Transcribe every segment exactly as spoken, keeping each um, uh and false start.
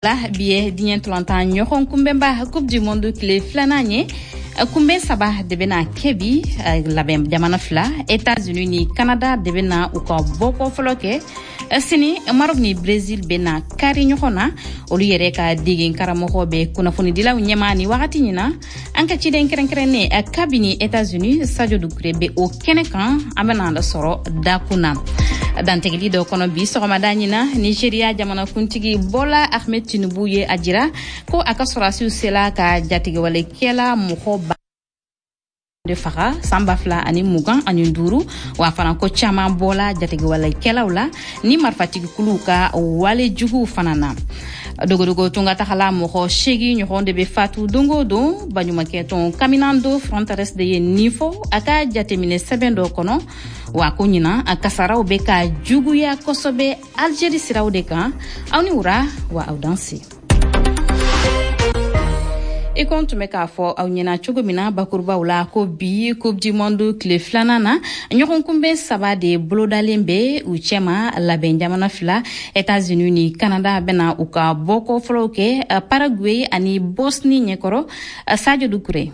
La bi ye diɲɛ ntolantan ɲɔgɔn kunbɛnba Coupe du monde tile filanan ye. Kunbɛn saba de bɛna kɛ bi. Labɛn jamana fila, États-Unis ni Canada, de bɛna u ka bɔkɔ fɔlɔ kɛ. Sini, Maroc ni Brésil bɛna kari ɲɔgɔn na. Olu yɛrɛ ka degen karamɔgɔ bɛ kunnafonidilaw ɲɛma ni wagati ɲina. An ka ciden kɛrɛnkɛrɛnnen kabini États-Unis, Sadio Dukure, bɛ o kɛnɛ kan. An bɛna sɔrɔ dakun na dantigɛli dɔ kɔnɔ bi sɔgɔmada ɲina. Nigeria jamanakuntigi Bola Ahmed Tinubu ye a jira ko a ka sɔrɔdasiw sela ka jatigɛwalekɛla mɔgɔ ba de faga san ba fila ani mugan ani duuru. Wa fana ko caman bɔla jatigɛwalekɛlaw la ni marifatigikuluw ka wale juguw fana na. Dogodogo tunga tagala mɔgɔ seegi ɲɔgɔn de bɛ fatu don o don. Baɲumankɛtɔn Caminando Fronteras de ye nin fɔ a ka jateminɛ sɛbɛn dɔ kɔnɔ. Wa ko ɲinan a kasaraw bɛ ka juguya kosɛbɛ Algérie siraw de kan. Aw ni wura wa, aw danse. I ko n tun bɛ k'a fɔ aw ɲɛna cogo min na bakurubaw la, ko bi Coupe du monde tile filanan na, ɲɔgɔn kunbɛn saba de bolodalen bɛ. U cɛma, labɛn jamana fila, États-Unis ni Canada, bɛna u ka bɔkɔ fɔlɔw kɛ Paraguay ani Bosnie ɲɛkɔrɔ. Sadio Dukure.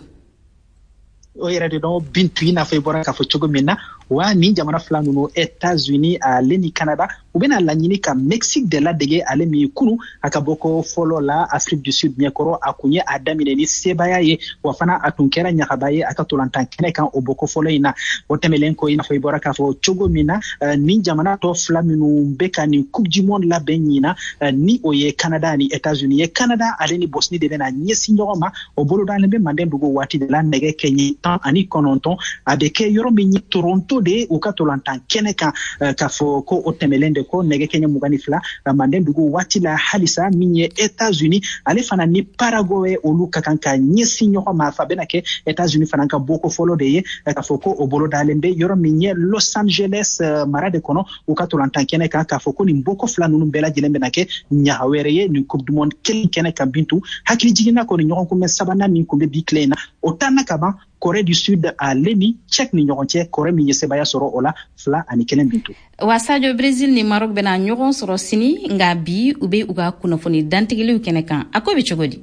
O yɛrɛ de dɔn, Bintu, i n'a fɔ i bɔra k'a fɔ cogo min na wa, nin jamana fila ninnu, États-Unis ale ni Canada, u bɛna laɲini ka Mexique de ladege, ale min kunu a ka bɔko fɔlɔ la Afrique du Sud ɲɛkɔrɔ, a kun ye a daminɛ ni sebaaya ye, wa fana a tun kɛra ɲagaba ye a ka tolantan kɛnɛ kan o bɔko fɔlɔ in na. O tɛmɛlen kɔ, i n'a fɔ i bɔra k'a fɔ cogo min na, nin jamana tɔ fila minnu bɛ ka nin Coupe du monde labɛn ɲina, ni o ye Canada ni États-Unis ye, Canada ale ni Bosnie de bɛna ɲɛsin ɲɔgɔn ma. O bolodalen bɛ manden dugu waati de la nɛgɛ kɛɲɛ tan ani kɔnɔntɔn. A bɛ kɛ yɔrɔ min ye, Toronto de, u ka tolantan kɛnɛ kan. K'a fɔ ko o tɛmɛlen de ko nɛgɛ kɛɲɛ mugan ni fila manden dugu waati la halisa, min ye États-Unis ale fana ni Paraguay, olu ka kan ka ɲɛsin ɲɔgɔn ma. Fa bɛna kɛ États-Unis fana ka bɔko fɔlɔ de ye. K'a fɔ ko o bolodalen bɛ yɔrɔ min ye, Los Angeles mara de kɔnɔ, u ka tolantan kɛnɛ kan. K'a fɔ ko nin bɔko fila ninnu bɛɛ lajɛlen bɛna kɛ ɲaga wɛrɛ ye nin Coupe du monde kelen kɛnɛ kan. Bintu, hakili jiginna kɔni, ɲɔgɔn kunbɛn sabanan min kun bɛ bi tile in na, o tanna ka ban, Corée du Sud ale ni Tchèque ni ɲɔgɔn cɛ, Corée min ye sebaaya sɔrɔ o la fila ani kelen, Bintu. Wa Sadio, Brésil ni Maroc bɛna ɲɔgɔn sɔrɔ sini, nka bi u bɛ u ka kunnafoni dantigɛliw kɛnɛ kan. A ko bɛ cogo di?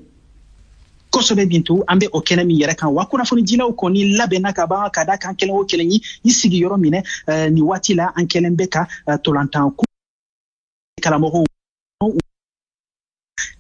Kosɛbɛ, Bintu. An bɛ o kɛnɛ min yɛrɛ kan wa, kunnafonidilaw kɔni labɛnna ka ban ka da kan kelen o kelen ye i sigi yɔrɔ minɛ. Nin waati la, an kɛlen bɛ ka tolantan karamɔgɔw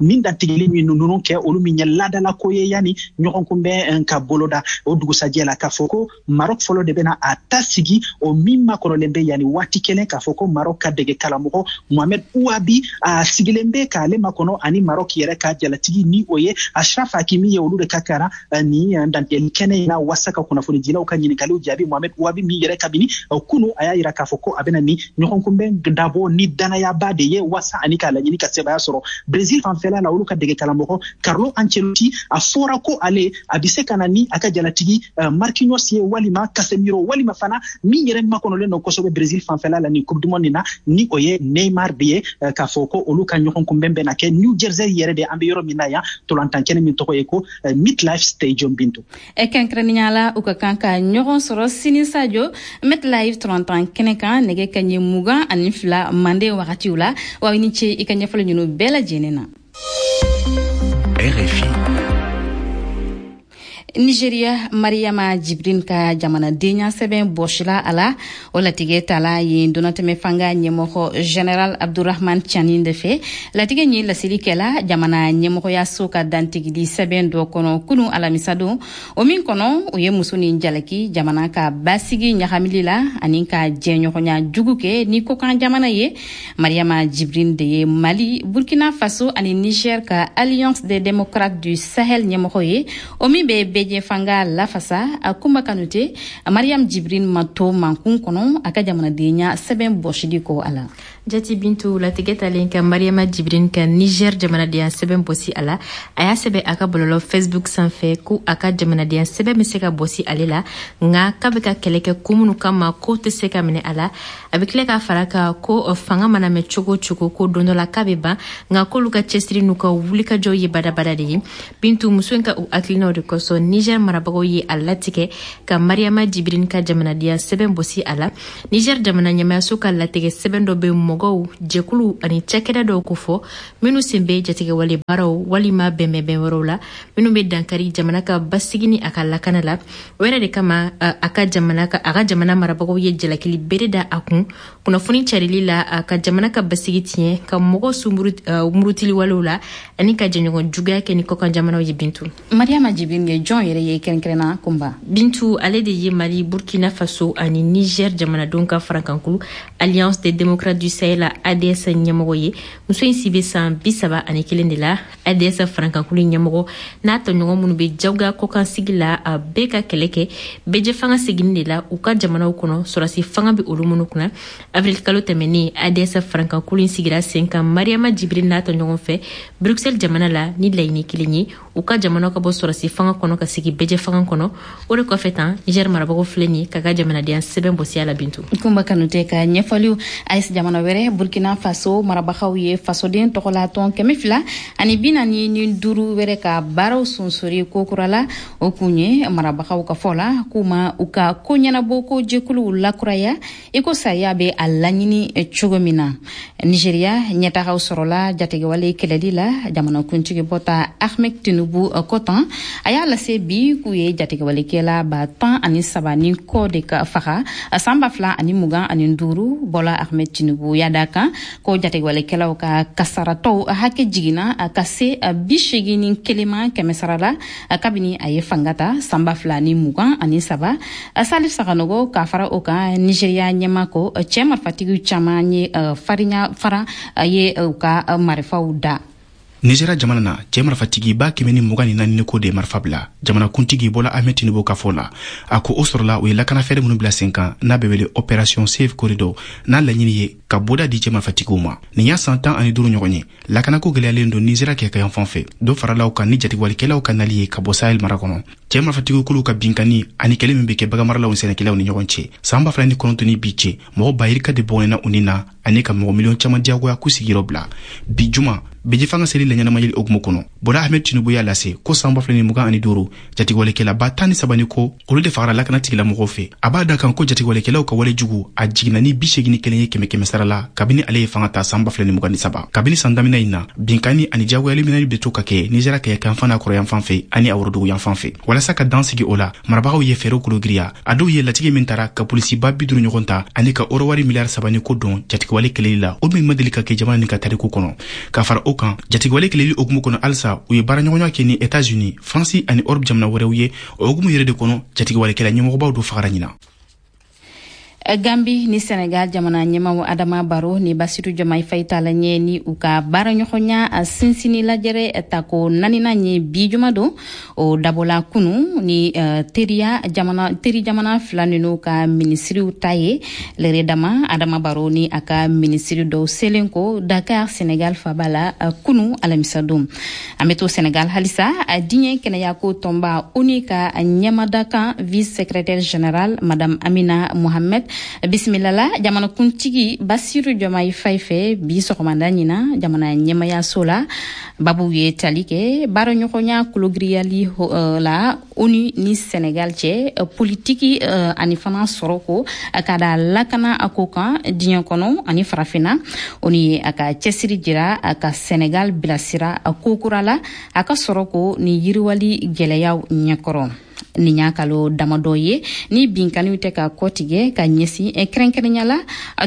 nin dantigɛli min ninnu kɛ, olu min ye ladalako ye yanni ɲɔgɔn kunbɛn ka boloda o dugusajɛ la. K'a fɔ ko Maroc fɔlɔ de bɛna a ta sigi, o min makɔrɔlen bɛ yanni waati kelen. K'a fɔ ko Maroc ka dege karamɔgɔ Mohamed Ouabi a sigilen bɛ k'ale makɔnɔ, ani Maroc yɛrɛ ka jalatigi, ni o ye Ashraf Hakimi ye, olu de ka kara nin dantigɛli kɛnɛ in na wasa ka kunnafonidilaw ka ɲininkaliw jaabi. Mohamed Ouabi min yɛrɛ kabini kunu a y'a yira k'a fɔ ko a bɛna ni ɲɔgɔn kunbɛn dabɔ ni danayaba de ye wasa ani k'a laɲini ka sebaaya sɔrɔ. Brésil fanfɛla la, olu ka dege karamɔgɔ Carlo Ancelotti, a fɔra ko ale a bɛ se ka na ni a ka jalatigi Marquinhos ye, walima Casemiro, walima fana min yɛrɛ makɔnɔlen don kosɛbɛ Brésil fanfɛla la nin Coupe du monde na, ni o ye Neymar de ye. K'a fɔ ko olu ka ɲɔgɔn kunbɛn bɛna kɛ New Jersey yɛrɛ de, an bɛ yɔrɔ min na yan, tolantan kɛnɛ min tɔgɔ ye ko MetLife Stadium, Bintu. Kɛrɛnkɛrɛnnenya la, u ka kan ka ɲɔgɔn sɔrɔ sini, Sadio, MetLife tolantan kɛnɛ kan nɛgɛ kaɲɛ mugan ani fila manden wagatiw la. Wa i ni ce i ka ɲɛfɔli ninnu bɛɛ lajɛlen na. R F I. Nigeria, Mariama Jibrin ka jamanadenya sɛbɛn bɔsila a la. O latigɛ tala yen donatɛmɛ fanga ɲɛmɔgɔ Général Abdurahman Tiani de fɛ. Latigɛ ɲi laseli kɛla jamana ɲɛmɔgɔyaso ka dantigili sɛbɛn dɔ kɔnɔ kunu alamisadon, o min kɔnɔ o ye muso ni jalaki jamana ka basigi ɲagamili la ani ka jɛɲɔgɔnya jugu kɛ ni kokan jamana ye. Mariama Jibrin de ye Mali, Burkina Faso ani Niger ka Alliance des démocrates du Sahel ɲɛmɔgɔ ye, o min bɛ bɛɛ fanga lafasa. A Kuma Kanute, Mariam Jibrin ma to mankun kɔnɔ a ka jamanadenya sɛbɛn bɔsili kɔ a la. Jati Bintu, latigɛ talen ka Mariama Jibrin ka Niger jamanadenya sɛbɛn bɔsi a la, a y'a sɛbɛ a ka bɔlɔlɔ Facebook sanfɛ ko a ka jamanadenya sɛbɛn bɛ se ka bɔsi ale la, nka k'a bɛ ka kɛlɛ kɛ ko minnu kama, ko tɛ se ka minɛ a la. A bɛ tila k'a fara kan ko fanga mana mɛn cogo o cogo, ko don dɔ la k'a bɛ ban, nka k'olu ka cɛsiri n'u ka wulikajɔw ye badabada de ye. Bintu, muso in ka o hakilinaw de kosɔn, Niger marabagaw ye a latigɛ ka Mariama Jibrin ka jamanadenya sɛbɛn bɔsi a la. Niger jamana ɲɛmayaso ka latigɛ sɛbɛn dɔ bɛ mɔgɔw, jɛkuluw ani cakɛda dɔw kofɔ minnu sen bɛ jatigɛwale baaraw walima bɛnbɛnbɛn wɛrɛw la minnu bɛ dankari jamana ka basigi ni a ka lakana la. O yɛrɛ de kama, a ka jamana ka a ka jamana marabagaw ye jalakili bere da a kun kunnafoni carili la a ka jamana ka basigi tiɲɛ, ka mɔgɔ murutiliwalew la ani ka jɛɲɔgɔn juguya kɛ ni kɔkan jamanaw ye. Bintu, Mariama Jibrin ye jɔn yɛrɛ ye kɛrɛnkɛrɛnna, Kunba? Bintu, ale de ye Mali, Burkina Faso ani Niger jamanadenw ka farankankulu Alliance des démocrates du Sahel, A D S, ɲɛmɔgɔ ye. Muso in si bɛ san bi saba ani kelen de la. A D S farankankulu ɲɛmɔgɔ n'a tɔɲɔgɔn minnu bɛ jagoya kɔkansigi la, a bɛɛ ka kɛlɛ kɛ bɛɛjɛfanga seginni de la u ka jamanaw kɔnɔ, sɔrɔsi fanga bɛ olu minnu kunna. Avril kalo tɛmɛnen, A D S farankankulu in sigira sen kan Mariama Jibrin n'a tɔɲɔgɔn fɛ Bruxelles jamana la ni laɲini kelen ye: u ka jamanaw ka bɔ sɔrɔsi fanga kɔnɔ ka sigi bɛɛjɛ fanga kɔnɔ. O de kɔfɛ tan, Niger marabagaw filɛ nin ka ka jamanadenya sɛbɛn bɔsiya la, Bintu. Kunba Kanute ka ɲɛfɔliw. A E S jamana wɛrɛ, Burkina Faso marabagaw ye fasoden tɔgɔlatɔn kɛmɛ fila ani bi naani ni duuru wɛrɛ ka baaraw sonsori kokura la. O kun ye, marabagaw ka fɔ la, k'u ma u ka ko ɲɛnabɔ ko jɛkuluw lakuraya i ko sariya bɛ a laɲini cogo min na. Nigeriya, ɲɛtagaw sɔrɔla jatigɛwale kɛlɛli la, jamanakuntigi bɔta Ahmed Tinubu kɔtan a y'a lase bi k'u ye jatigɛwalekɛla ba tan ani saba ni kɔ de ka faga san ba fila ani mugan ani duuru. Bɔla Ahmed Tinubu y'a da kan ko jatigɛwalekɛlaw ka kasaratɔw hakɛ jiginna ka se bi segin ni kelen ma kɛmɛ sara la kabini a ye fanga ta san ba fila ni mugan ani saba. Salif Saganogo ka fara o kan, Nigeriya ɲɛma ko cɛɛ marifatigiw caman ye farinya fara ye u ka marifaw da. Nizeriya jamana na, cɛɛ marifatigi ba kɛmɛ ni mugan ni naani ko de ye marifa bila, jamanakuntigi Bɔla Ahmed Tinubu ka fɔ la. A ko o sɔrɔla u ye lakanafɛɛrɛ minnu bila sen kan n'a bɛ wele Opération Safe Corridor, n'a laɲini ye ka boda di cɛɛ marifatigiw ma. Nin y'a san tan ani duuru ɲɔgɔn ye lakanako gwɛlɛyalen don Nizeriya kɛkayan fan fɛ, dɔ faralaw kan ni jatigɛwalikɛlaw ka nali ye ka bɔ Sahel mara kɔnɔ, cɛɛ marifatigiw kuluw ka binkani ani kɛlɛ min be kɛ baganmaralaw ni sɛnɛkɛlaw ni ɲɔgɔn cɛ. Saan ba fila ni kɔnɔntɔn ni bi cɛ, mɔgɔ ba yirika de bɔgɔnɛna u ni na ani ka mɔgɔ miliyɔn caman diyagoya k'u sigiyɔrɔ bila. Bi juma bɛjɛfanga seli laɲɛnamayeli hukumu kɔnɔ, Bɔla Ahmed Tinubu y'a lase ko san ba fila ni mugan ani duuru, jatigɛwalekɛla ba tan ni saba ni ko olu de fagara lakana tigilamɔgɔw fɛ. A b'a da kan ko jatigɛwalekɛlaw ka wale jugu a jiginna ni bi segin ni kelen ye kɛmɛ kɛmɛ sara la kabini ale ye fanga ta san ba fila ni mugan ni saba. Kabini san daminɛ in na, binkani ani diyagoyali minɛli bɛ to ka kɛ Nizeriya kɛɲɛkanfan n'a kɔrɔyanfan fɛ ani a woroduguyanfan fɛ. Walasa ka dan sigi o la, marabagaw ye fɛɛrɛw kologiriya. A dɔw ye latigɛ min tara ka polisiba bi duuru ɲɔgɔn ta ani ka orowari miliyari saba ni ko don jatigɛwale kɛlɛli la, o min ma deli ka kɛ jamana nin ka tariku kɔnɔ. Ka fara o kan, jatigɛwale kɛlɛli hukumu kɔnɔ halisa, u ye baaraɲɔgɔnya kɛ ni Etats-Unis, Faransi ani Europe jamana wɛrɛw ye. O hukumu yɛrɛ de kɔnɔ, jatigɛwalekɛla ɲɛmɔgɔbaw do fagara ɲina. Gambi ni Senegal jamana ɲɛmaw Adama Baro ni Basiru Jɔmai Fayi tala ɲɛ ni u ka baaraɲɔgɔnya sinsini lajɛrɛ tako naaninan ye bi juma don. O dabɔla kunu ni teriya jamana, teri jamana fila ninu ka minisiriw ta ye. Lɛrɛ dama, Adama Baro ni a ka minisiri dɔw selen ko Dakar, Senegal faba la, kunu alamisa don. An be to Senegal halisa. Diɲɛ kɛnɛyako tɔnba ONU ka ɲɛmadakan, vice secrétaire général Madame Amina Mohamed, bisimila la jamanakuntigi Basiru Jɔmayi Fayi fɛ bi sɔgɔmada ɲina jamana ɲɛmayaso la. Babu ye tali kɛ baaraɲɔgɔnya kologiriyali la ONU ni Senegal cɛ, politiki ani fana sɔrɔ ko ka da lakana a ko kan diɲɛ kɔnɔ ani Farafinna. ONU ye a ka cɛsiri jira a ka Senegal bilasira ko kura la a ka sɔrɔ ko ni yiriwali gwɛlɛyaw ɲɛkɔrɔ. Nin y'a kalo damadɔ ye ni binkaniw tɛ ka kɔtigɛ ka ɲɛsin kɛrɛnkɛrɛnya la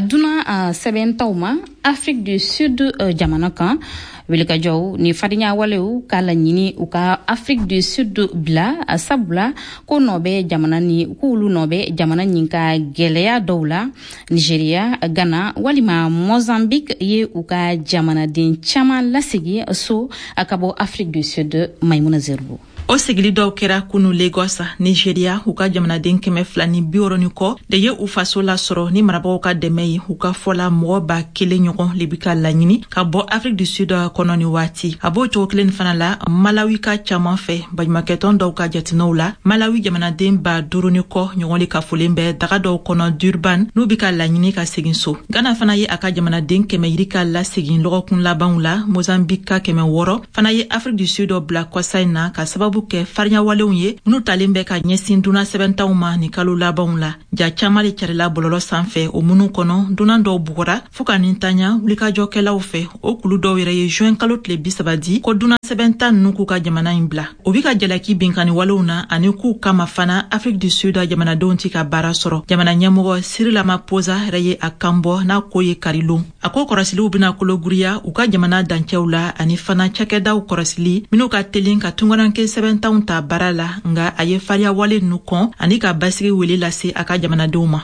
dunan sɛbɛntaw ma Afrique du Sud jamana kan. Wulikajɔw ni farinya walew k'a laɲini u ka Afrique du Sud bila, sabula ko nɔ bɛ jamana ni k'olu nɔ bɛ jamana nin ka gwɛlɛya dɔw la. Nigeria, Ghana walima Mozambique ye u ka jamanaden caman lasegi so ka bɔ Afrique du Sud. Maimuna Zerbo. O sigili dɔw kɛra kunu Lagos, Nigeria. U ka jamanaden kɛmɛ fila ni bi wɔrɔ ni kɔ de ye u faso lasɔrɔ ni marabagaw ka dɛmɛ ye. U ka fɔla, mɔgɔ ba kelen ɲɔgɔn le bi ka laɲini ka bɔ Afrique du Sud kɔnɔ ni waati. A b'o cogo kelen fana la Malawi ka caaman fɛ. Baɲumakɛtɔn dɔw ka jateminɛw la, Malawi jamanaden ba duuru ni kɔ ɲɔgɔn le kafolen bɛ daga dɔw kɔnɔ Durban, n'u bi ka laɲini ka segin so. Ghana fana ye a ka jamanaden kɛmɛ yirika lasegin lɔgɔkun labanw la. Mozambique ka kɛmɛ wɔrɔ fana ye Afrique du Sud bila kɔsa in na ka sababu sababu kɛ fariɲawalenw ye minnu talen bɛ ka ɲɛsin dunan sɛbɛntanw ma ni kalo labanw la. Ja caman le carila bɔlɔlɔ sanfɛ, o minnu kɔnɔ dunan dɔw bugɔra fɔɔ ka nin tanya wulikajɔkɛlaw fɛ. O kulu dɔw yɛrɛ ye juin kalo tile bi saba di ko dunan sɛbɛntan ninnu k'u ka jamana in bila. O bi ka jalaki binkanni walew na ani k'u kama fana Afrique du Sud jamanadenw ti ka baara sɔrɔ. Jamana ɲɛmɔgɔ Cyril Ramaphosa yɛrɛ ye a kan bɔ n'a ko ye karilon. A ko kɔrɔsiliw bena kologiriya u ka jamana dancɛw la ani fana cakɛdaw kɔrɔsili minw ka telin ka tungaranke sɛbɛntanw ta baara la, nga a ye fariya wale ninnu kɔn ani ka basigi wele lase a ka jamanadenw ma.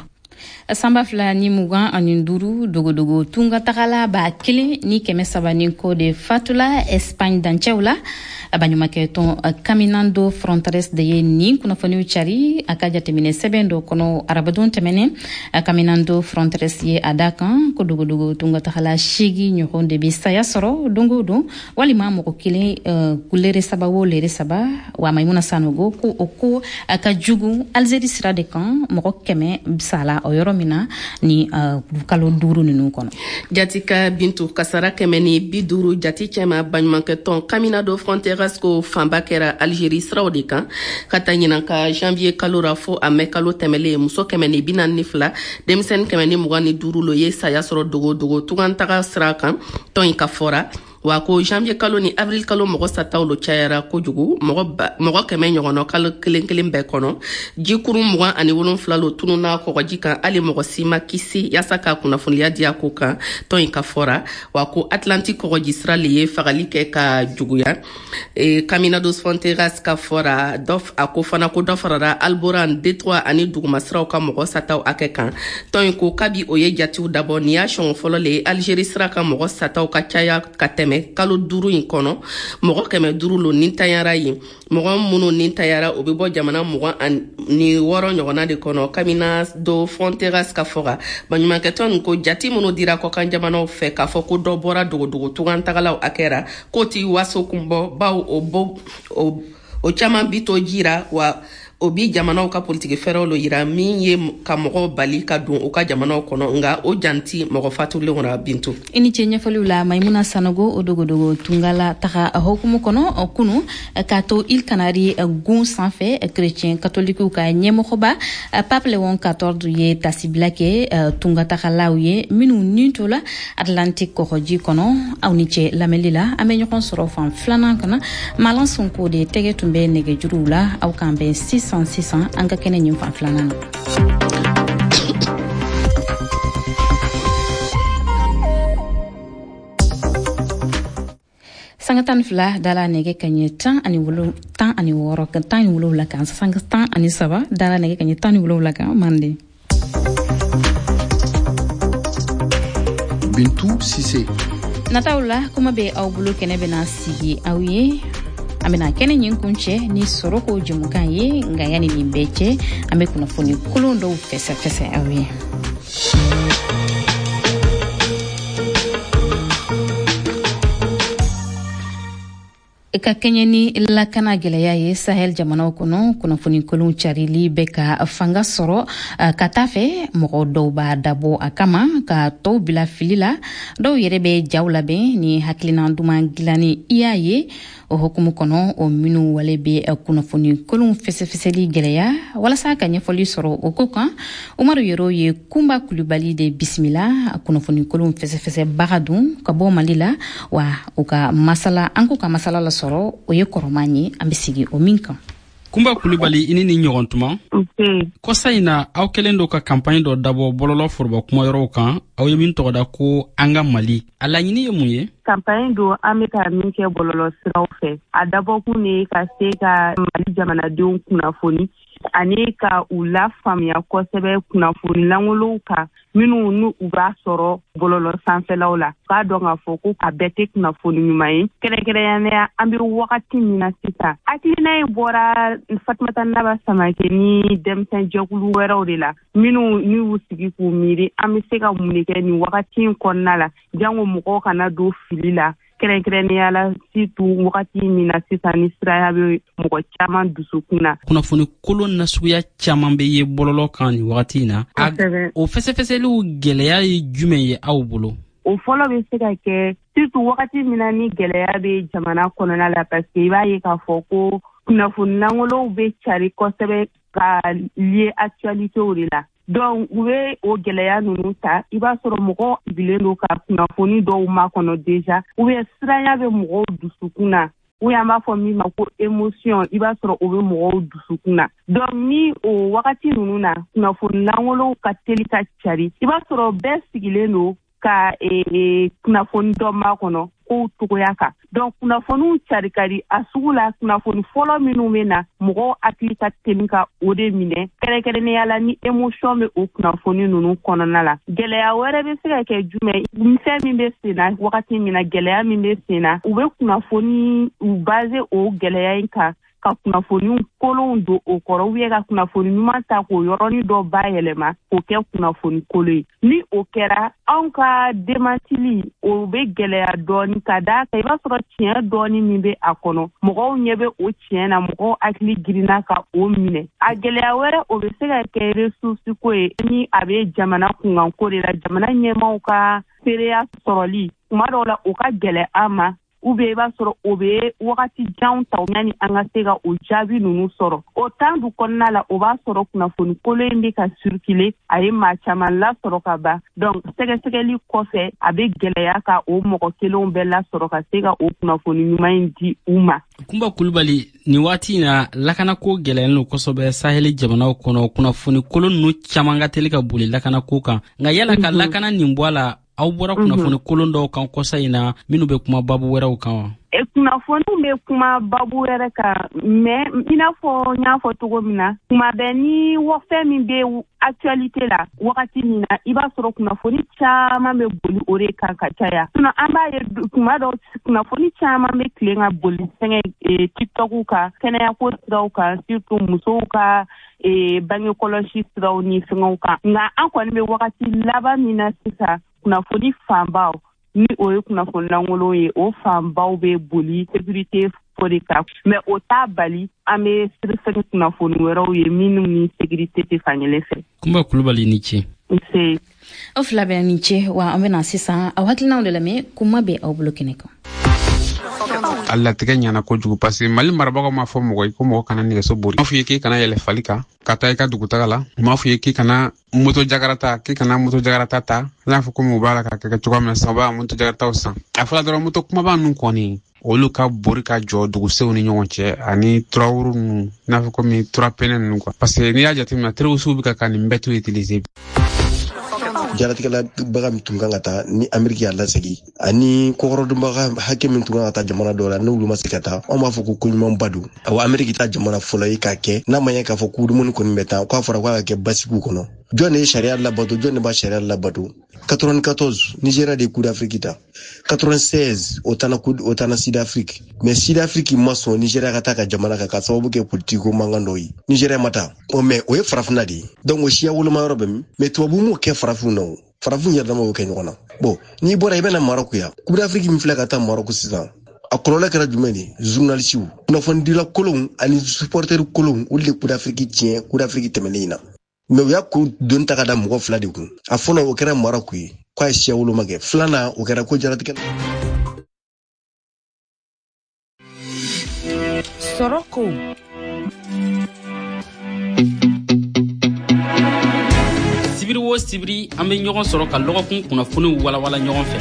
Sanba fila ni mugan ani duuru, dogodogo tunga tagala ba kelen ni kɛmɛ saba ni kɔ de fatula Espagne dancɛw la. Baɲumankɛ tɔn Caminando Fronteras de ye nin kunnafoniw cari a ka jateminɛ sɛbɛn dɔ kɔnɔ arabadon tɛmɛnen. Caminando Fronteras ye a da kan ko dogodogo tunga tagala seegin ɲɔgɔn de bɛ saya sɔrɔ don o don, walima mɔgɔ kelen lere saba o lere saba. Wa Maimuna Sanogo ko o ko a ka jugu Algérie sira de kan, mɔgɔ kɛmɛ sala o yɔrɔ min na ni uh, kalo duuru ninnu kɔnɔ. Jatika Bintu, kasara kɛmɛ ni bi duuru jati cɛma baɲumankɛ tɔn Caminando Fronteras ko fanba kɛra Algérie siraw de kan ka taa ɲinan ka janvier kalo ra fo a mɛ kalo tɛmɛlen, muso kɛmɛ ni bi naani ni fila, denmisɛnnin kɛmɛ ni mugan ni duuru lo ye saya sɔrɔ dogodogo tungantaga sira kan tɔn in ka fɔra. Wa ko janvier kalo ni avril kalo mɔgɔ sataw lo cayara kojugu, mɔgɔ kɛmɛ ɲɔgɔnna kalo kelen kelen bɛɛ kɔnɔ. Jikuru mugan ani wolonfila lo tununa kɔgɔji kan, hali mɔgɔ si ma kisi yaasa ka kunnafoniya di a ko kan tɔn in ka fɔra. Wa ko Atlantique kɔgɔji sira le ye fagali kɛ ka juguya. E, Caminando Fronteras ka fɔra dɔ a ko fana ko dɔ farara Alboran, Détroit ani dugumasiraw ka mɔgɔ sataw hakɛ kan. Tɔn in ko kabi o ye jatiw dabɔ nin y'a siɲɛ fɔlɔ le ye Algérie sira ka mɔgɔ sataw ka caya ka tɛmɛ kalo duuru in kɔnɔ. Mɔgɔ kɛmɛ duuru lo nintanyara yen. Mɔgɔ minnu nintanyara o bɛ bɔ jamana mugan ni wɔɔrɔ ɲɔgɔnna de kɔnɔ. Caminando Fronteras ka fɔ baɲumankɛtɔn nin ko jati minnu dira kɔkan jamanaw fɛ k'a fɔ ko dɔ bɔra dogodogo tungantagalaw hakɛ ra, k'o ti waso kun bɔ, bawo o bo o caman bi to jira wa o bi jamanaw ka politiki fɛɛrɛw lo yira min ye ka mɔgɔw bali ka don u ka jamanaw kɔnɔ, nga o janti mɔgɔ fatulenw ra. Bintu, i ni ce ɲɛfɔliw la Maimuna Sanogo. O dogodogo tungala taga hokumu kɔnɔ kunu k'a to Îles Canaries gun sanfɛ, chrétien katolikiw ka ɲɛmɔgɔba Pape Léon quatorze ye tasibila kɛ tungatagalaw ye minnu ni to la Atlantique kɔgɔji kɔnɔ. Aw ni ce lamɛnli la, an bɛ ɲɔgɔn sɔrɔ fan filanan kana. Malan Sonko de tɛgɛ tun bɛ nɛgɛjuruw la. Aw k'an bɛn sisan sisan an ka kɛnɛ ɲin fan filanan na. Sanga tan fila dala nɛgɛ kaɲɛ tan ani wolo tan ani wɔɔrɔ tan ni wolonwula kan, sanga tan ani saba dala nɛgɛ kaɲɛ tan ni wolonwula kan. Manden Bintu Sise nataw la kuma bɛ aw bolo, kɛnɛ bɛna sigi aw ye. An bɛna kɛnɛ ɲin kun cɛ ni sɔrɔ ko jɛmukan ye, nka yanni nin bɛɛ cɛ an bɛ kunnafoni kolon dɔw fɛsɛfɛsɛ aw ye. Ka kɛɲɛ ni lakana gɛlɛya ye Sahel jamanaw kɔnɔ, kunnafoni kolon carili bɛ ka fanga sɔrɔ ka taa fɛ. Mɔgɔ dɔw b'a dabɔ a kama ka tɔw bila fili la, dɔw yɛrɛ bɛ jaw labɛn ni hakilina duman dilanni i y'a ye. O hukumu kɔnɔ, o minnu wale bɛ kunnafoni kolon fɛsɛfɛsɛli gɛlɛya. Walasa ka ɲɛfɔli sɔrɔ o ko kan, Umaru Yero ye Kunba Kulubali de bisimila, kunnafoni kolon fɛsɛfɛsɛbaga dun ka bɔ Mali la. Wa u ka masala, an k'u ka masala lasɔrɔ, o ye kɔrɔman ye, an bɛ sigi o min kan. Kunba Kulubali, i ni ni ɲɔgɔn tuma. Kɔsa in na, aw kɛlen do ka kanpaɲi dɔ dabɔ bɔlɔlɔ foroba kumayɔrɔw kan, aw ye min tɔgɔ da ko An ka Mali. A laɲini ye mun ye? Kanpaɲi don an bɛ ka min kɛ bɔlɔlɔ siraw fɛ. A dabɔkun de ye ka se ka Mali jamanadenw kunnafoni ani ka u lafaamuya kosɛbɛ kunnafoni lankolonw kan minnu n'u u b'a sɔrɔ bɔlɔlɔ sanfɛlaw la. K'a dɔn k'a fɔ ko a bɛɛ tɛ kunnafoni ɲuman ye. Kɛrɛnkɛrɛnnenya an bɛ wagati min na sisan, hakilina in bɔra Fatumata Naba Samake ni denmisɛn jɛkulu wɛrɛw de la minnu n'u y'u sigi k'u miiri an bɛ se ka mun de kɛ nin wagati in kɔnɔna la, jango mɔgɔw kana don fili la. Kɛrɛnkɛrɛnnenya la surtout wagati min na sisan ni siraya bɛ mɔgɔ caman dusukun na. Kunnafoni kolon nasuguya caman bɛ ye bɔlɔlɔ kan nin wagati in na. O fɛsɛfɛsɛliw gɛlɛya ye jumɛn ye aw bolo? O fɔlɔ bɛ se ka kɛ surtout wagati min na ni gɛlɛya bɛ jamana kɔnɔna la, parce que i b'a ye k'a fɔ ko Kunnafoni lankolonw bɛ cari kosɛbɛ ka lié actualitéw de la. Donc u bɛ o gɛlɛya ninnu ta, i b'a sɔrɔ mɔgɔw sigilen don ka kunnafoni dɔw makɔnɔ déjà, ou bien siranya bɛ mɔgɔw dusukun na, ou bien an b'a fɔ min ma ko émotion, i b'a sɔrɔ o bɛ mɔgɔw dusukun na. Donc ni o wagati ninnu na kunnafoni lankolonw ka teli ka cari, i b'a sɔrɔ bɛɛ sigilen don ka kunnafoni dɔ makɔnɔ kow togoya kan. Donc kunnafoniw cari ka di a sugu la. Kunnafoni fɔlɔ minnu bɛ na, mɔgɔw hakili ka teli ka o de minɛ, kɛrɛnkɛrɛnnenya la ni émotion bɛ o kunnafoni ninnu kɔnɔna la. Gɛlɛya wɛrɛ bɛ se ka kɛ jumɛn? Fɛn min bɛ sen na wagati min na, gɛlɛya min bɛ sen na, u bɛ kunnafoni u base o gɛlɛya in kan ka kunnafoni kolonw don o kɔrɔ, ou bien ka kunnafoni ɲuman ta k'o yɔrɔnin dɔ bayɛlɛma k'o kɛ kunnafoni kolon ye. Ni o kɛra, anw ka démantili o bɛ gɛlɛya dɔɔni, ka d'a kan i b'a sɔrɔ tiɲɛ dɔɔni min bɛ a kɔnɔ, mɔgɔw ɲɛ bɛ o tiɲɛ na, mɔgɔw hakili girinna ka o minɛ. A gɛlɛya wɛrɛ, o bɛ se ka kɛ ressource ko ye, ni a bɛ jamana kunkanko de la, jamana ɲɛmaaw ka seereya sɔrɔli tuma dɔw la o ka gɛlɛn an ma, ou bien i b'a sɔrɔ o bɛ wagati janw ta yanni an ka se ka o jaabi ninnu sɔrɔ. O temps du kɔnɔna la, o b'a sɔrɔ kunnafoni kolon in bɛ ka circuler, a ye maa caman lasɔrɔ ka ban. Donc sɛgɛsɛgɛli kɔfɛ, a bɛ gɛlɛya ka o mɔgɔ kelenw bɛɛ lasɔrɔ ka se ka o kunnafoni ɲuman in di u ma. Kunba Kulubali, nin waati in na lakanako gɛlɛyalen don kosɛbɛ saheli jamanaw kɔnɔ. Kunnafoni kolon ninnu caman ka teli ka boli lakanako kan, nka yala ka lakana nin bɔ a la, aw bɔra kunnafoni kolon dɔw kan kɔsa in na minnu bɛ kuma babu wɛrɛw kan wa? Kunnafoniw bɛ kuma babu wɛrɛ kan, mais i n'a fɔ n y'a fɔ cogo min na, tuma bɛɛ ni fɛn min bɛ actualité la wagati min na, i b'a sɔrɔ kunnafoni caman bɛ boli o de kan ka caya. Sinon an b'a ye tuma dɔw kunnafoni caman bɛ tilen ka boli fɛngɛ TikTok kan, kɛnɛyako siraw kan, surtout musow ka bange kɔlɔsi siraw ni fɛngɛw kan. Nka an kɔni bɛ wagati laban min na sisan, kunnafoni fanbaw ni o ye kunnafoni lankolon ye, o fanbaw bɛ boli sécurité ko de kan, mais o t'a bali an bɛ sɛgɛsɛgɛ kunnafoni wɛrɛw ye minnu ni sécurité tɛ fankelen fɛ. Kunba Kulubali, ni ce. Nse. Aw fila bɛ ni ce. Wa an bɛna sisan aw hakilinaw de lamɛn, kuma bɛ aw bolo kɛnɛ kan. A latigɛ ɲana kojugu, parce que Mali marabagaw m'a fɔ mɔgɔ ye ko mɔgɔ kana nɛgɛso bori. U m'a fɔ ye k'i kana yɛlɛ fali kan ka taa i ka dugutaga la. U m'a fɔ ye k'i kana moto jakarata, k'i kana moto jakarata ta. I n'a fɔ komi u b'a la ka kɛ cogoya min na sisan, u b'a moto jakarataw san. A fɔra dɔrɔn moto kumaba ninnu kɔni, olu ka bori ka jɔ dugusenw ni ɲɔgɔn cɛ, ani turawuru ninnu, i n'a fɔ komi turapɛnɛ ninnu quoi. Parce que n'i y'a jateminɛ, terrorisiw bɛ ka ka nin bɛɛ to utiliser. Jaratigɛla baga min tun kan ka taa ni Ameriki y'a lasegin, ani kɔkɔrɔdonbaga hakɛ min tun kan ka taa jamana dɔw la n'olu ma se ka taa, anw b'a fɔ ko koɲumanba don. Awa, Ameriki ta jamana fɔlɔ ye k'a kɛ n'a ma ɲɛ k'a fɔ ko dumuni kɔni bɛ taa, k'a fɔra k'a ka kɛ basigiw kɔnɔ. Jɔn de ye sariya labato? Jɔn de b'a sariya labato? quatre-vingt-quatorze, Nigeria de ye Coupe d'Afrique ta. quatre-vingt-seize, o taara o taara Sud Afrique, mais Sud Afrique ma sɔn Nigeria ka taa ka jamana kan ka sababu kɛ politique ko mankan dɔw ye. Nigeria ma taa o, mais o ye farafinna de ye, donc o siya woloma yɔrɔ bɛ min? Mais tubabu m'o kɛ farafinw na, o farafin yɛrɛ dama y'o kɛ ɲɔgɔn na. Bon, n'i bɔra i bɛna Maroc yan, Coupe d'Afrique min filɛ ka taa Maroc sisan, a kɔlɔlɔ kɛra jumɛn de ye? Journalisiw, kunnafonidila kolonw ani supporter kolonw, olu de Coupe d'Afrique tiɲɛ Coupe d'Afrique tɛmɛnen in na. Mais u y'a ko doni ta ka da mɔgɔ fila de kun. A fɔlɔ, o kɛra Maroc ye k'a ye siya woloma kɛ. Filanan, o kɛra ko jaratigɛ. Sɔrɔ ko sibiri o sibiri, an bɛ ɲɔgɔn sɔrɔ ka lɔgɔkun kunnafoniw walawala ɲɔgɔn fɛ.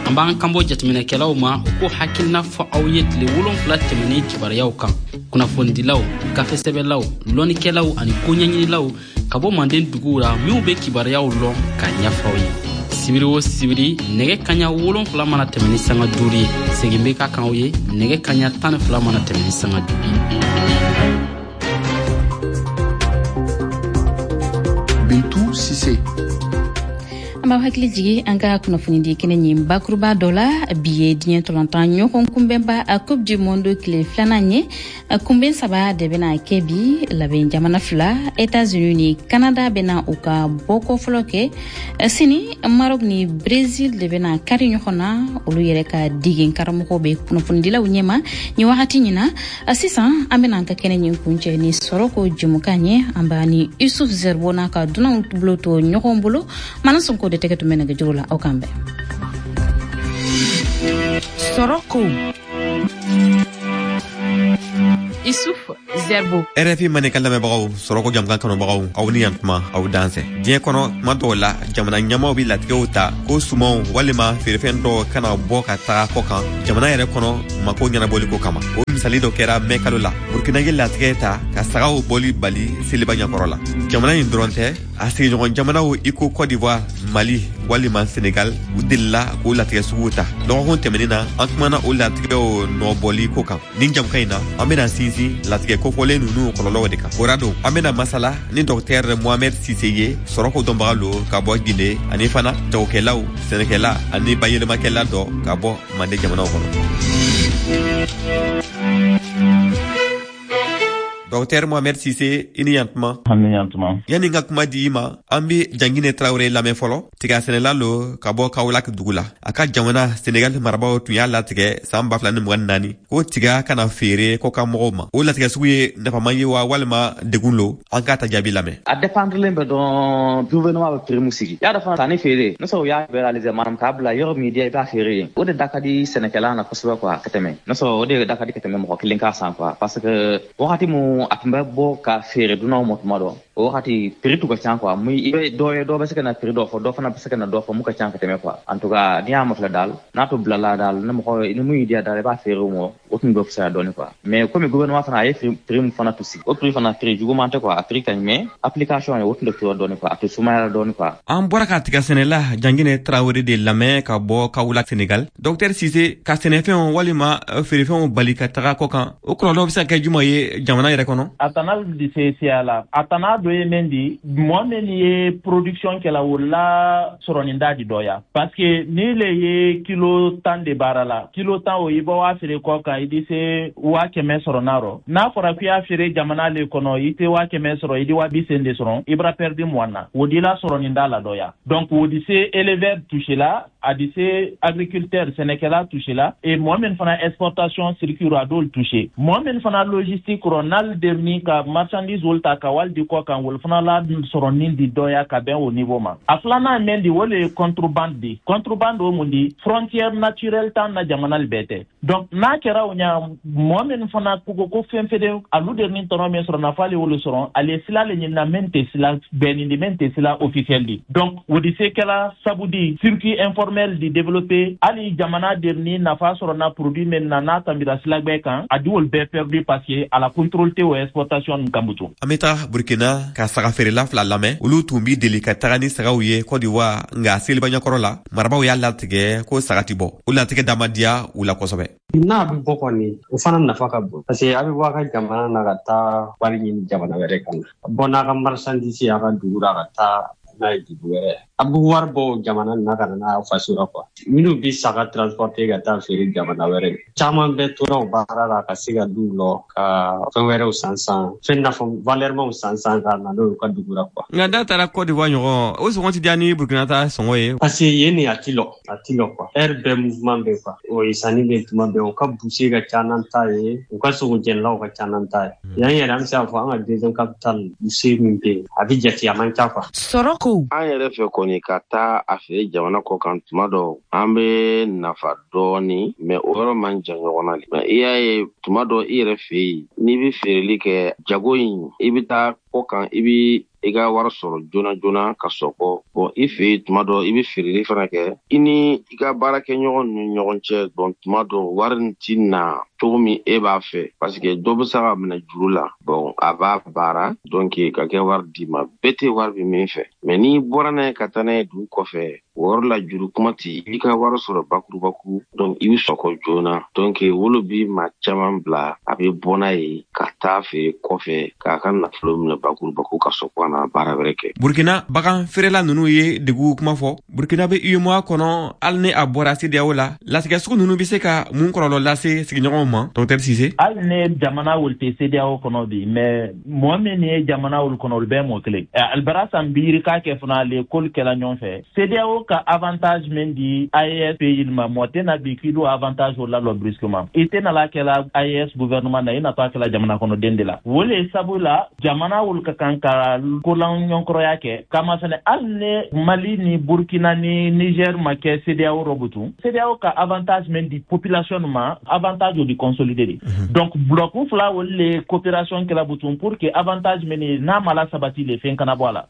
An b'an kanbɔ jateminɛkɛlaw ma, u k'o hakilina fɔ aw ye tile wolonfila tɛmɛnen kibaruyaw kan. Kunnafonidilaw, gafesɛbɛlaw, lɔnnikɛlaw ani koɲɛɲinilaw ka bɔ manden duguw la minw bɛ kibaruyaw lɔn k'a ɲɛfɔ aw ye. Sibiri o sibiri, nɛgɛ kaɲa wolonfila mana tɛmɛ ni sanga duuru ye, segin bɛ ka kan aw ye nɛgɛ kaɲa tan ni fila mana tɛmɛ ni sanga duuru ye. Bintu Sise. An b'aw hakili jigi an ka kunnafonidi kɛnɛ ɲin bakuruba dɔ la. Bi ye diɲɛ tɔlɔntan ɲɔgɔn kunbɛnba a Coupe du Monde tile filanan ye. Kunbɛn saba de bɛna kɛ bi. Labɛn jamana fila, États-Unis ni Canada, bɛna u ka bɔko fɔlɔ kɛ. Sini, Maroc ni Brésil de bɛna kari ɲɔgɔn na. Olu yɛrɛ ka degen karamɔgɔw bɛ kunnafonidilaw ɲɛma nin wagati ɲin na. Sisan an bɛna an ka kɛnɛ ɲin kuncɛ ni sɔrɔ ko jɛmukan ye. An b'a ni Yusuf Zerbo n'a ka dunanw bolo to ɲɔgɔn bolo. Mana Sonko de tɛgɛ tun bɛ nɛgɛjuru la. Aw kan bɛn. Sɔrɔ ko Issouf Zerbo. R F I Mandenkan lamɛnbagaw, sɔrɔko jamukan kanubagaw, aw ni yantuma, aw dansɛ. Diɲɛ kɔnɔ, tuma dɔw la, jamana ɲɛmaw bi latigɛw ta ko sumanw walima feerefɛn dɔw kana bɔ ka taga kɔ kan jamana yɛrɛ kɔnɔ, mako ɲɛnabɔliko kama. O misali dɔ kɛra mɛ kalo la. Burkina ye latigɛ ta ka sagaw bɔli bali seliba ɲɛkɔrɔ la. Jamana nin dɔrɔn tɛ, a sigiɲɔgɔn jamanaw i ko Cote d'Ivoire, Mali walima Senegal, u delila k'o latigɛ suguw ta. Dɔgɔkun tɛmɛnin na, an kumana o latigɛw nɔbɔli ko kan. Nin jamukan in na, an bena sinsin latigɛ kofɔlen nunu kɔlɔlɔw de kan. O ra don, an bena masala ni Dɔktɛr Mohamɛd Sise ye, sɔrɔko dɔnbaga lo ka bɔ Gine, ani fana jagokɛlaw, sɛnɛkɛla ani bayɛlɛmakɛla dɔ ka bɔ Mande jamanaw kɔnɔ. Dɔktɛr Mohamɛd Sise, i ni yantuma. Ani yantuma. Yani n ka kuma di i ma, an be Jangine Tarawele lamɛn fɔlɔ. Tiga sɛnɛla lo ka bɔ Kawolak dugu la. A ka jamana Senegal marabaw tun y'a latigɛ saan ba fila ni mugan ni naani ko tiga kana feere kɔkan mɔgɔw ma. O latigɛ sugu ye nafaman ye wa, walima degun lo? An k'a ta jaabi lamɛn. A dépendrelen bɛ dɔn gouvernement bɛ prix mun sigi. Y'a dɔ fana, sanni feere ne sɔrɔ u y'a libéraliser, maanaam k'a bila yɔrɔ min diya i b'a feere yen, o de da ka di sɛnɛkɛla na kosɛbɛ quoi, ka tɛmɛ ne sɔrɔ o de da ka di ka tɛmɛ mɔgɔ kelen k'a san quoi, parce que wagati mun a tun bɛ bɔ ka feere dunanw ma tuma dɔ, o wagati prix tun ka ca quoi. Mun i bɛ dɔ ye, dɔ bɛ se ka na prix dɔ fɔ, dɔ fana bɛ se ka na dɔ fɔ mun ka ca ka tɛmɛ quoi. En tout cas, n'i y'a mafilɛ daal, n'a to bilala daal, ni mɔgɔ ni mun y'i diya daal, i b'a feere o ma, o tun bɛ fisaya dɔɔni quoi. Mais komi gouvernement fana a ye prix mun fana to sigi, o prix fana prix juguman tɛ quoi, a prix ka ɲi, mais application ye o tun tɛ tora dɔɔni quoi, a tɛ sumayara dɔɔni quoi. An bɔra ka tiga sɛnɛla Jangine Tarawele de lamɛn ka bɔ Kawula, Senegal. Dɔktɛr Sise, ka sɛnɛfɛnw walima feerefɛnw bali ka taga kɔ kan, o kɔlɔlɔ bɛ se ka kɛ juma ye jamana yɛrɛ kɔnɔ? A tana di se siya la, a tana dɔ ye min di, mɔgɔ min ye production kɛla, o la sɔrɔnin da di dɔya, parce que ni le ye kilo tan de baara la, kilo tan o i bɔ waa feere kɔ kan, i di se waa kɛmɛ sɔrɔ n'a rɔ. N'a fɔra k'i y'a feere jamana le kɔnɔ, i tɛ waa kɛmɛ sɔrɔ, i di waa bi sen de sɔrɔ, i bara perdu mugan na, o di la sɔrɔnin da la dɔya. Donc o di se éleveur touché la, a di se agriculteur sɛnɛkɛla touché la, et mɔgɔ min fana exportation circuit a d'olu touché, mɔgɔ min fana logistique rɔ, n'ale derni ka marchandise olu ta ka wali di kɔ kan, olu fana la sɔrɔnin di dɔya ka bɛn o niveau ma. A filanan min di, o le ye contrebande di. Contrebande o mun di? Frontière naturelle t'an na jamana bɛɛ tɛ. Donc n'a kɛra o ɲa, mɔgɔ min fana ko ko fɛn fɛn alu derni tɔnɔ min sɔrɔ, nafa le wolo sɔrɔ, ale sila le ɲinina min tɛ sila bɛnni di, min tɛ sila officiel di. Donc o di se kɛla sabu di circuit informel di développer, hali jamana derni nafa sɔrɔ na produit min na, n'a tambira sila gbɛ kan, a di olu bɛɛ perdu, parce que a la contrôle tɛ o exportation nin kan butu. An bɛ taga Burkina ka saga feerela fila lamɛn. Olu tun bi deli ka taga ni sagaw ye Cote d'Ivoire, nka seliba ɲɛkɔrɔ la, marabaw y'a latigɛ ko saga ti bɔ. O latigɛ da ma diya u la kosɛbɛ. N'a bɛ bɔ kɔni, o fana nafa ka bon, parce que a bɛ bɔ a ka jamana na ka taa wari ɲini jamana wɛrɛ kan na, bɔ n'a ka marchandise a ka dugu la ka taa n'a ye dugu wɛrɛ, a bɛ wari bɔ jamana na ka na n'a faso la quoi. Minnu bɛ saga transporter ka taa feere jamana wɛrɛ, caman bɛ tora o baara la ka se ka duw lɔ ka fɛn wɛrɛw san san, fɛn nafa valɛrimaw san san ka na n'o ye u ka dugu la quoi. Nka n'a taara Cote d'Ivoire ɲɔgɔn, o sɔngɔ ti diya ni Burkina ta sɔngɔ ye? Parce que yen nin a ti lɔ, a ti lɔ quoi, heure bɛɛ mouvement bɛ quoi, o ye sanni bɛ tuma bɛɛ. U ka boucher ka ca n'an ta ye, u ka sogojɛnilaw ka ca n'an ta ye. Yan yɛrɛ, an bɛ se k'a fɔ an ka deuxième capitale, boucher min bɛ yen, a bɛ jate, a man ca quoi. Sɔrɔ ko an yɛrɛ fɛ kɔni, ka taa a feere jamana kɔ kan, tuma dɔ an bɛ nafa dɔɔni, mais o yɔrɔ man jan ɲɔgɔn na. Mais i y'a ye, tuma dɔ i yɛrɛ fɛ yen, n'i bɛ feereli kɛ jago in, i bɛ taa kɔ kan, i bɛ i ka wari sɔrɔ joona joona ka sɔkɔ. Bon, i fɛ yen, tuma dɔ i bɛ feereli fana kɛ, i ni i ka baarakɛɲɔgɔn ni ɲɔgɔn cɛ. Bon, tuma dɔ wari nin ti na cogo min e b'a fɛ, parce que dɔ bɛ se ka minɛ juru la. Bon, a b'a baara, donc ka kɛ wari d'i ma, bɛɛ tɛ wari bɛ min fɛ. Mais n'i bɔra n'a ye ka taa n'a ye dugu kɔfɛ, o yɔrɔ la juru kuma ti, i ka wari sɔrɔ bakurubaku, donc i bɛ sɔkɔ joona. Donc wolo bi maa caman bila a bɛ bɔ n'a ye ka taa feere kɔfɛ, k'a ka nafolo minɛ bakurubaku ka sɔkɔ na baara wɛrɛ kɛ. Burkina bagan feerela ninnu ye degun kuma fɔ. Burkina bɛ UEMOA kɔnɔ, hali ni a bɔra CEDEAO la. Latigɛ sugu ninnu bɛ se ka mun kɔlɔlɔ lase sigiɲɔgɔnw ma, Docteur Sise? Hali ni jamana wolu tɛ CEDEAO kɔnɔ bi, mais mɔgɔ min ye jamana wolu kɔnɔ, olu bɛɛ mɔgɔ kelen. Alibara san biiri k'a kɛ fana, ale k'olu kɛla ɲɔgɔn fɛ. CEDEAO ka avantage min di A E S pays ma, mɔgɔ tɛ na bi k'i d'o avantage o lalɔ brusquement. I tɛ nala kɛla A E S gouvernement na, i natɔ a kɛla jamana kɔnɔden de la. O le sabu la, jamana wolu ka kan ka kolan ɲɔgɔnkɔrɔya kɛ kama fɛnɛ. Hali ni Mali ni Burkina ni Niger ma kɛ CEDEAO rɔ butun, CEDEAO ka avantage min di population ma, avantage o di di consolider de. Donc bloc fila olu le coopération kɛla butun pour que avantage min ye n'a ma la sabati le fɛn kana bɔ a la.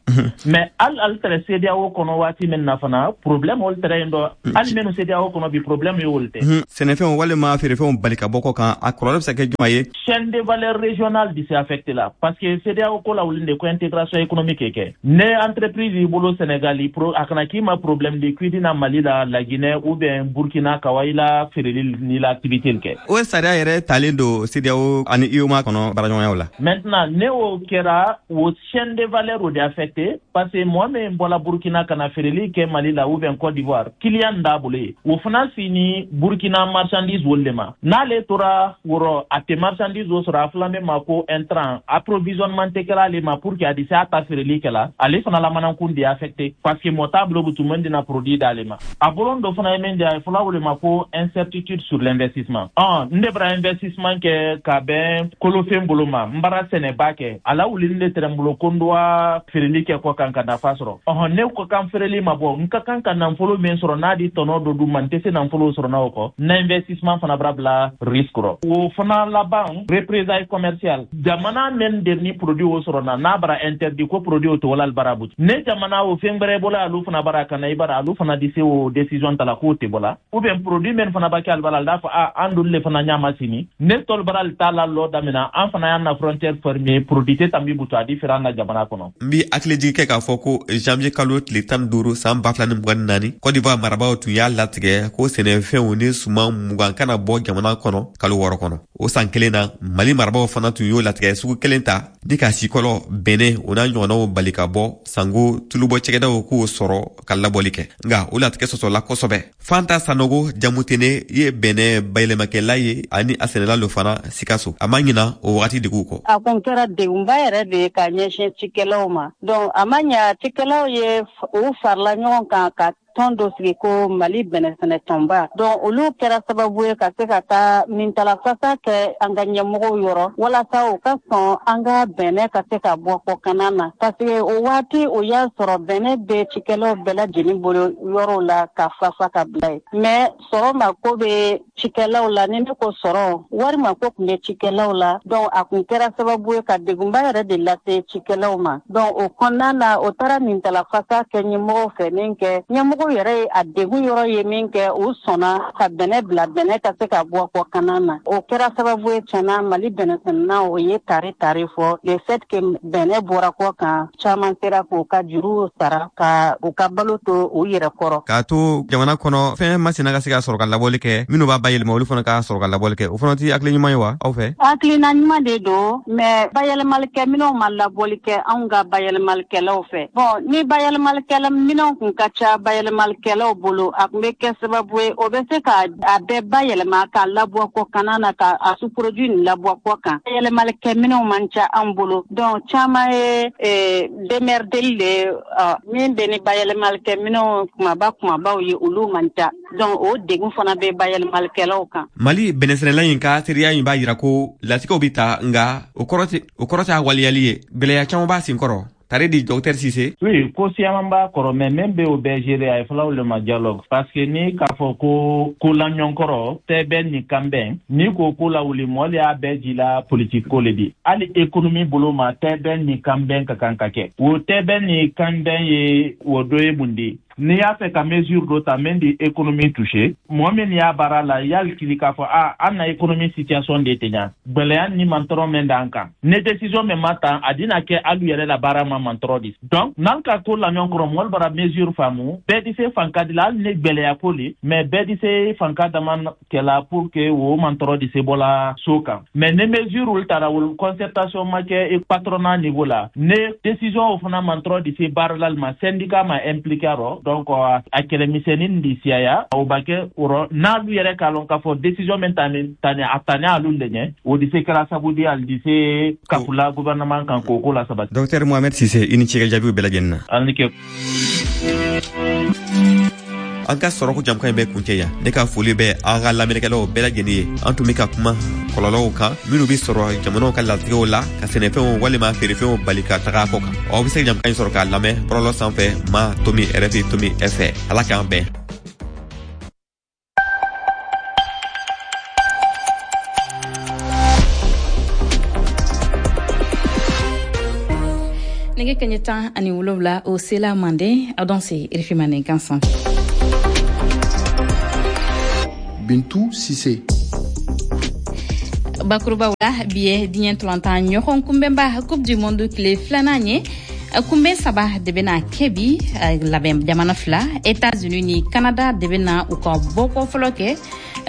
Mais hali ali tɛrɛ CEDEAO kɔnɔ waati min na fana, problème olu tɛrɛ yen dɔ, hali minnu CEDEAO kɔnɔ bi, problème ye olu tɛ. Sɛnɛfɛnw walima feerefɛnw bali ka bɔ kɔ kan, a kɔlɔlɔ bɛ se ka kɛ jumɛn ye? Chaîne de valeur régionale di se affecté la, parce que CEDEAO ko la wuli de ko intégration économique kɛ. Ne entreprise y'i bolo Sénégal, a kana k'i ma problème de k'i na Mali la, la Guinée ou bien Burkina ka wa i la feereli ni la activité kɛ. O sariya yɛrɛ talen don CEDEAO ani UEMOA kɔnɔ baaraɲɔgɔnyaw la. Maintenant, ne o kɛra, o chaîne de valeur o de affecté, parce que mɔgɔ min bɔla Burkina ka na feereli kɛ Mali la ou bien Côte d'Ivoire, client d'a bolo ye, o fana sini Burkina marchandise wolu de ma. N'ale tora wɔrɔ, a tɛ marchandise o sɔrɔ, a fila min ma ko intrant, approvisionnement tɛ kɛla ale ma pour que a di se a ta feereli kɛla, ale fana la manankun de affecté, parce que mɔgɔ t'a bolo butu min dina produit d'ale ma. A bolon dɔ fana ye min di, a ye fɔla o de ma ko incertitude sur l'investissement. Ɔn, n de bara investissement kɛ ka bɛn kolofɛn bolo ma, n bara sɛnɛba kɛ a la, wuli ne tɛrɛ n bolo ko n dowa feereli kɛ kɔ kan ka nafa sɔrɔ. Ɔhɔn, ne ka kan feereli ma bɔ, n ka kan ka nafolo min sɔrɔ n'a di tɔnɔ dɔ d'u ma, n tɛ se nafolo sɔrɔ n'a o kɔ, na investissement fana bara bila risque rɔ. O fana laban, représailles commerciales, jamana min de ni produit o sɔrɔ na, n'a bara interdit ko produit o tɔgɔla bara but, ne jamana o fɛn gbɛrɛ bɔla alu fana bara ka na i bara, alu fana di se o décision ta la k'o tɛ bɔla, ou bien produit min fana ba kɛ ali bara, ali d'a fɔ a an dolu le fana ɲama sini ne tɔli bara ali t'a la lɔ daminɛ, an fana y'an na frontière fermée, produit tɛ tanbi butu a di feere an na jamana kɔnɔ. N bi hakili jigi kɛ k'a fɔ ko janvier kalo tile tan ni duuru san ba fila ni mugan ni naani, Côte d'Ivoire marabaaw tun y'a latigɛ ko sɛnɛfɛnw ni suman mugan kana bɔ jamana kɔnɔ kalo wɔɔrɔ kɔnɔ. O san kelen na, Mali marabaaw fana tun y'o latigɛ sugu kelen ta ni ka sikɔlɔ, bɛnɛ, o n'a ɲɔgɔnnaw bali ka bɔ, sango tulubɔ cɛgɛdaw k'o sɔrɔ ka labɔli kɛ. Nka o latigɛ sɔsɔla kosɛbɛ. Fanta Sanogo Jamutene ye bɛnɛ bayɛlɛmakɛla ye ani a sɛnɛla lo fana Sikaso. A ma ɲina o wagati deguw kɔ. A kun kɛra degunba yɛrɛ de ye ka ɲɛsin cikɛlaw ma. Donc a ma ɲa, cikɛlaw ye u farala ɲɔgɔn kan ka tɔn dɔ sigi ko Mali bɛnɛsɛnɛ tɔnba. Donc olu kɛra sababu ye ka se ka taa nintalafasa kɛ an ka ɲɛmɔgɔw yɔrɔ walasa u ka sɔn an ka bɛnɛ ka se ka bɔ kɔkanna na, parce que o waati o y'a sɔrɔ bɛnɛ bɛ cikɛlaw bɛɛ lajɛlen bolo yɔrɔw la ka fafa ka bila yen. Mais sɔrɔ mako bɛ cikɛlaw la, ni ne ko sɔrɔ, wari mako tun bɛ cikɛlaw la. Donc a kun kɛra sababu ye ka degunba yɛrɛ de lase cikɛlaw ma. Donc o kɔnɔna na, o taara nintalafasa kɛ ɲɛmɔgɔw fɛ min kɛ, ɲɛmɔgɔ yɛrɛ ye a degun yɔrɔ ye min kɛ, u sɔnna ka bɛnɛ bila, bɛnɛ ka se ka bɔ kɔkanna na. O kɛra sababu ye tiɲɛna Mali bɛnɛsɛnɛnaw o ye tare tare fɔ le fait que bɛnɛ bɔra kɔ kan, caman sera k'u ka juruw sara ka u ka balo to u yɛrɛ kɔrɔ. K'a to jamana kɔnɔ fɛn masina ka se ka sɔrɔ ka labɔli kɛ, minnu b'a bayɛlɛma olu fana ka sɔrɔ ka labɔli kɛ, o fana tɛ hakili ɲuman ye wa aw fɛ? Hakilina ɲuman de don, mais bayɛlɛmalikɛ minɛnw ma labɔli kɛ anw ka bayɛlɛmalikɛlaw fɛ. Bon, ni bayɛlɛmalikɛla minɛnw kun ka ca bayɛlɛmalikɛlaw bolo, a kun bɛ kɛ sababu ye o bɛ se ka a bɛɛ bayɛlɛma k'a labɔ kɔkanna na, ka a sous-produit nin labɔ kɔ kan. Bayɛlɛmalikɛ minɛnw man ca an bolo, donc caman ye démerdeli de min bɛ ni bayɛlɛmalikɛ minɛnw kumaba kumabaw ye, olu man ca. Donc o degun fana bɛ bayɛlɛmalikɛlaw kan. Mali bɛnɛsɛnɛla in ka teriya in b'a yira ko latigɛw bɛ ta, nka o kɔrɔ tɛ o kɔrɔ t'a waleyali ye, gwɛlɛya caman b'a sen kɔrɔ. Tare di, docteur Cissé. Oui, ko siyaman b'a kɔrɔ, mais même bɛ o bɛɛ gérer, a ye fɔla o le ma dialogue, parce que ni k'a fɔ ko ko la ɲɔgɔnkɔrɔ tɛ bɛɛ ni kan bɛn, ni ko ko lawuli mɔgɔ le y'a bɛɛ ji la politique ko le di. Hali économie bolo ma, tɛ bɛɛ ni kan bɛn ka kan ka kɛ. O tɛ bɛɛ ni kan bɛn ye o dɔ ye mun de? N'i y'a fɛ ka mesure dɔ ta min di économie touché, mɔgɔ min y'a baara la yali kili k'a fɔ a an na économie situation de tɛ ɲa, gwɛlɛya ni mantɔrɔ min d'an kan, ne décision min ma ta, a dina kɛ alu yɛrɛ la baara ma mantɔrɔ di. Donc n'an ka ko la ɲɔgɔn kɔrɔ, mɔgɔlu bara mesure faamu, bɛɛ di se fanka di la, hali ni gwɛlɛya ko le, mais bɛɛ di se fanka dama kɛla pour que o mantɔrɔ di se bɔla so kan. Mais ne mesure olu tara, olu concertation ma kɛ patronat niveau la, ne décision o fana mantɔrɔ di se baara la ma, syndicat ma impliqué rɔ. Donc a kɛlɛmisɛnnin di siyaya o ba kɛ o rɔ, n'alu yɛrɛ k'a lɔn k'a fɔ décision min tani tani a tani alu le ɲɛ, o di se kɛra sabu di ali di se kafula gouvernement kan k'o ko la sabati. Docteur Mohamed Cissé, i ni ce ka jaabiw bɛɛ lajɛlen na. An ni ke. An ka sɔrɔko jamukan in bɛ kuncɛ yan. Ne ka foli bɛ an ka lamɛnnikɛlaw bɛɛ lajɛlen ye. An tun bɛ ka kuma kɔlɔlɔw kan minnu bɛ sɔrɔ jamanaw ka latigɛw la ka sɛnɛfɛnw walima feerefɛnw bali ka taga kɔ kan. Aw bɛ se ka jamukan in sɔrɔ k'a lamɛn bɔlɔlɔ sanfɛ ma tomi rfi tomi fr. Ala k'an bɛn. Nɛgɛ kɛɲɛ tan ani wolonwula o sela manden aw dan se R F I mandenkan sanfɛ. Bintu Sise. Bakurubaw la, bi ye diɲɛ ntolantan ɲɔgɔn kunbɛnba Coupe du Monde tile filanan ye. Kunbɛn saba de bɛna kɛ bi. Labɛn jamana fila, États-Unis ni Canada, de bɛna u ka bɔkɔ fɔlɔ kɛ.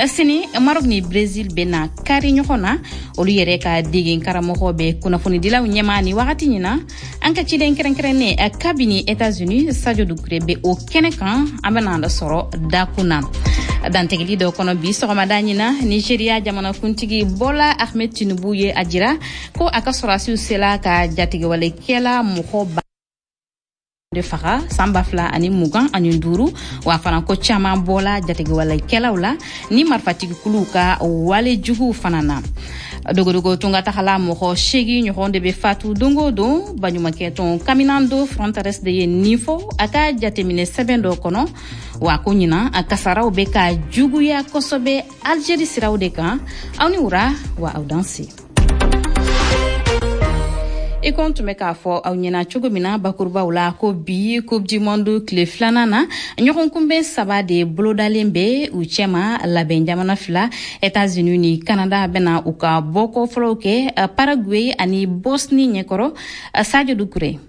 Sini, Maroc ni Brésil bɛna kari ɲɔgɔn na. Olu yɛrɛ ka degen karamɔgɔ bɛ kunnafonidilaw ɲɛma ni wagati ɲin na. An ka ciden kɛrɛnkɛrɛnnen kabini États-Unis, Sadio Dukure, bɛ o kɛnɛ kan. An bɛna da sɔrɔ dakun na. Dantigɛli dɔ kɔnɔ bi sɔgɔmada ɲin, Nigeria jamanakuntigi Bola Ahmed Tinubu ye a jira ko a ka sɔrɔdasiw sela ka jatigɛwalekɛla mɔgɔ ba de faga san ba fila ani mugan ani duuru. Wa fana ko caman bɔla jatigɛwalekɛlaw la ni marifatigikuluw ka wale juguw fana na. Dogodogo tunga tagala mɔgɔ seegi ɲɔgɔn de bɛ fatu don o don. Baɲumankɛtɔn Caminando Fronteras de ye nin fɔ a ka jateminɛ sɛbɛn dɔ kɔnɔ. Wa ko ɲinan a kasaraw bɛ ka juguya kosɛbɛ Algérie siraw de kan. Aw ni wura wa, aw danse. I ko n tun bɛ k'a fɔ aw ɲɛna cogo min na bakurubaw la, ko bi Coupe du Monde tile filanan na, ɲɔgɔn kunbɛn saba de bolodalen bɛ. U cɛma, labɛn jamana fila, États-Unis ni Canada, bɛna u ka bɔkɔ fɔlɔw kɛ Paraguay ani Bosnie ɲɛkɔrɔ. Sadio Dukure.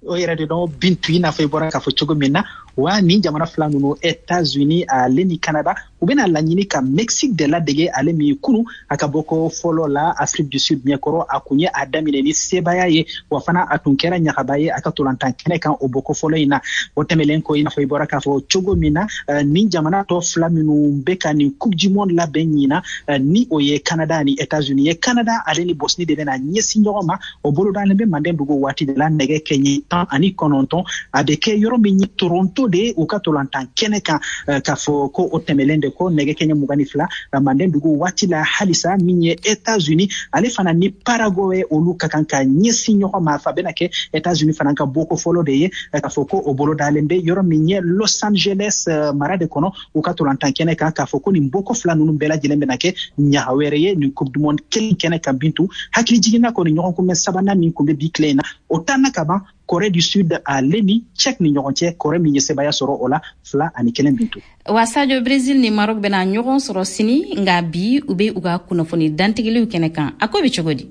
O yɛrɛ de dɔn, Bintu, i n'a fɔ i bɔra k'a fɔ cogo min na wa, nin jamana fila ninnu, États-Unis ale ni Canada, u bɛna laɲini ka Mexique de ladege, ale min kunu a ka bɔko fɔlɔ la Afrique du Sud ɲɛkɔrɔ, a kun ye a daminɛ ni sebaaya ye, wa fana a tun kɛra ɲagaba ye a ka tolantan kɛnɛ kan o bɔko fɔlɔ in na. O tɛmɛlen kɔ, i n'a fɔ i bɔra k'a fɔ cogo min na, nin jamana tɔ fila minnu bɛ ka nin Coupe du Monde labɛn ɲina, ni o ye Canada ni États-Unis ye, Canada ale ni Bosnie de bɛna ɲɛsin ɲɔgɔn ma. O bolodalen bɛ manden dugu waati de la, nɛgɛ kɛɲɛ tan ani kɔnɔntɔn. A bɛ kɛ yɔrɔ min ye, Toronto de, u ka tolantan kɛnɛ kan. K'a fɔ ko o tɛmɛlen de ko, nɛgɛ kɛɲɛ mugan ni fila manden dugu waati la halisa, min ye États-Unis ale fana ni Paraguay, olu ka kan ka ɲɛsin ɲɔgɔn ma. Fa bɛna kɛ États-Unis fana ka bɔko fɔlɔ de ye. K'a fɔ ko o bolodalen bɛ yɔrɔ min ye, Los Angeles mara de kɔnɔ, u ka tolantan kɛnɛ kan. K'a fɔ ko nin bɔko fila ninnu bɛɛ lajɛlen bɛna kɛ ɲaga wɛrɛ ye nin Coupe du Monde kelen kɛnɛ kan. Bintu, hakili jiginna kɔni, ɲɔgɔn kunbɛn sabanan min kun bɛ bi tile in na, o tanna ka ban, Corée du Sud ale ni Tchèque ni ɲɔgɔn cɛ. Corée min ye sebaaya sɔrɔ o la fila ani kelen, Bintu. Wa Sadio, Brésil ni Maroc bɛna ɲɔgɔn sɔrɔ sini, nka bi u bɛ u ka kunnafoni dantigɛliw kɛnɛ kan. A ko bɛ cogo di?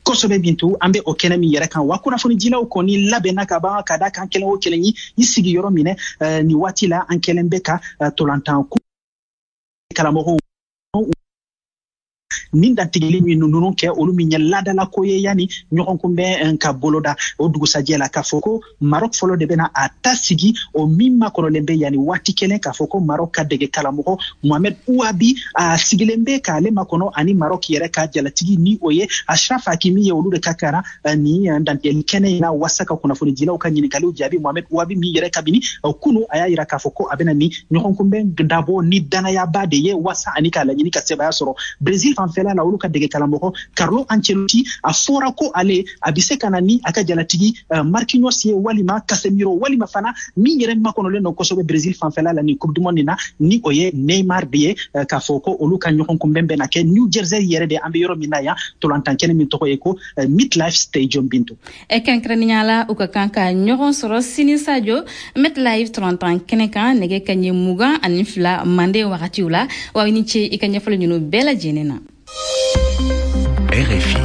Kosɛbɛ, Bintu. An bɛ o kɛnɛ min yɛrɛ kan wa, kunnafonidilaw kɔni labɛnna ka ban ka da kan kelen o kelen ye i sigi yɔrɔ minɛ. Nin waati la, an kɛlen bɛ ka tolantan karamɔgɔw nin dantigɛli min ninnu kɛ, olu min ye ladalako ye yanni ɲɔgɔn kunbɛn ka boloda o dugusajɛ la. K'a fɔ ko Maroc fɔlɔ de bɛna a ta sigi, o min makɔnɔlen bɛ yanni waati kelen. K'a fɔ ko Maroc ka dege karamɔgɔ Mohamed Ouabi a sigilen bɛ k'ale makɔnɔ, ani Maroc yɛrɛ ka jalatigi, ni o ye Achraf Hakimi ye, olu de ka kara nin dantigɛli kɛnɛ in na wasa ka kunnafonidilaw ka ɲininkaliw jaabi. Mohamed Ouabi min yɛrɛ, kabini kunu, a y'a yira k'a fɔ ko a bɛna ni ɲɔgɔn kunbɛn dabɔ ni danayaba de ye wasa ani k'a laɲini ka sebaaya sɔrɔ. Brésil fanfɛla la, olu ka dege karamɔgɔ Carlo Ancelotti, a fɔra ko ale a bɛ se ka na ni a ka jalatigi Marquinhos ye, walima Casemiro, walima fana min yɛrɛ makɔnɔlen don kosɛbɛ Brésil fanfɛla la nin Coupe du Monde na, ni o ye Neymar de ye. K'a fɔ ko olu ka ɲɔgɔn kunbɛn bɛna kɛ New Jersey yɛrɛ de, an bɛ yɔrɔ min na yan, tolantan kɛnɛ min tɔgɔ ye ko MetLife Stadium, Bintu. Kɛrɛnkɛrɛnnenya la, u ka kan ka ɲɔgɔn sɔrɔ sini, Sadio, MetLife tolantan kɛnɛ kan, nɛgɛ kaɲɛ mugan ani fila manden wagatiw la. Wa i ni ce i ka ɲɛfɔli ninnu bɛɛ lajɛlen na. R F I.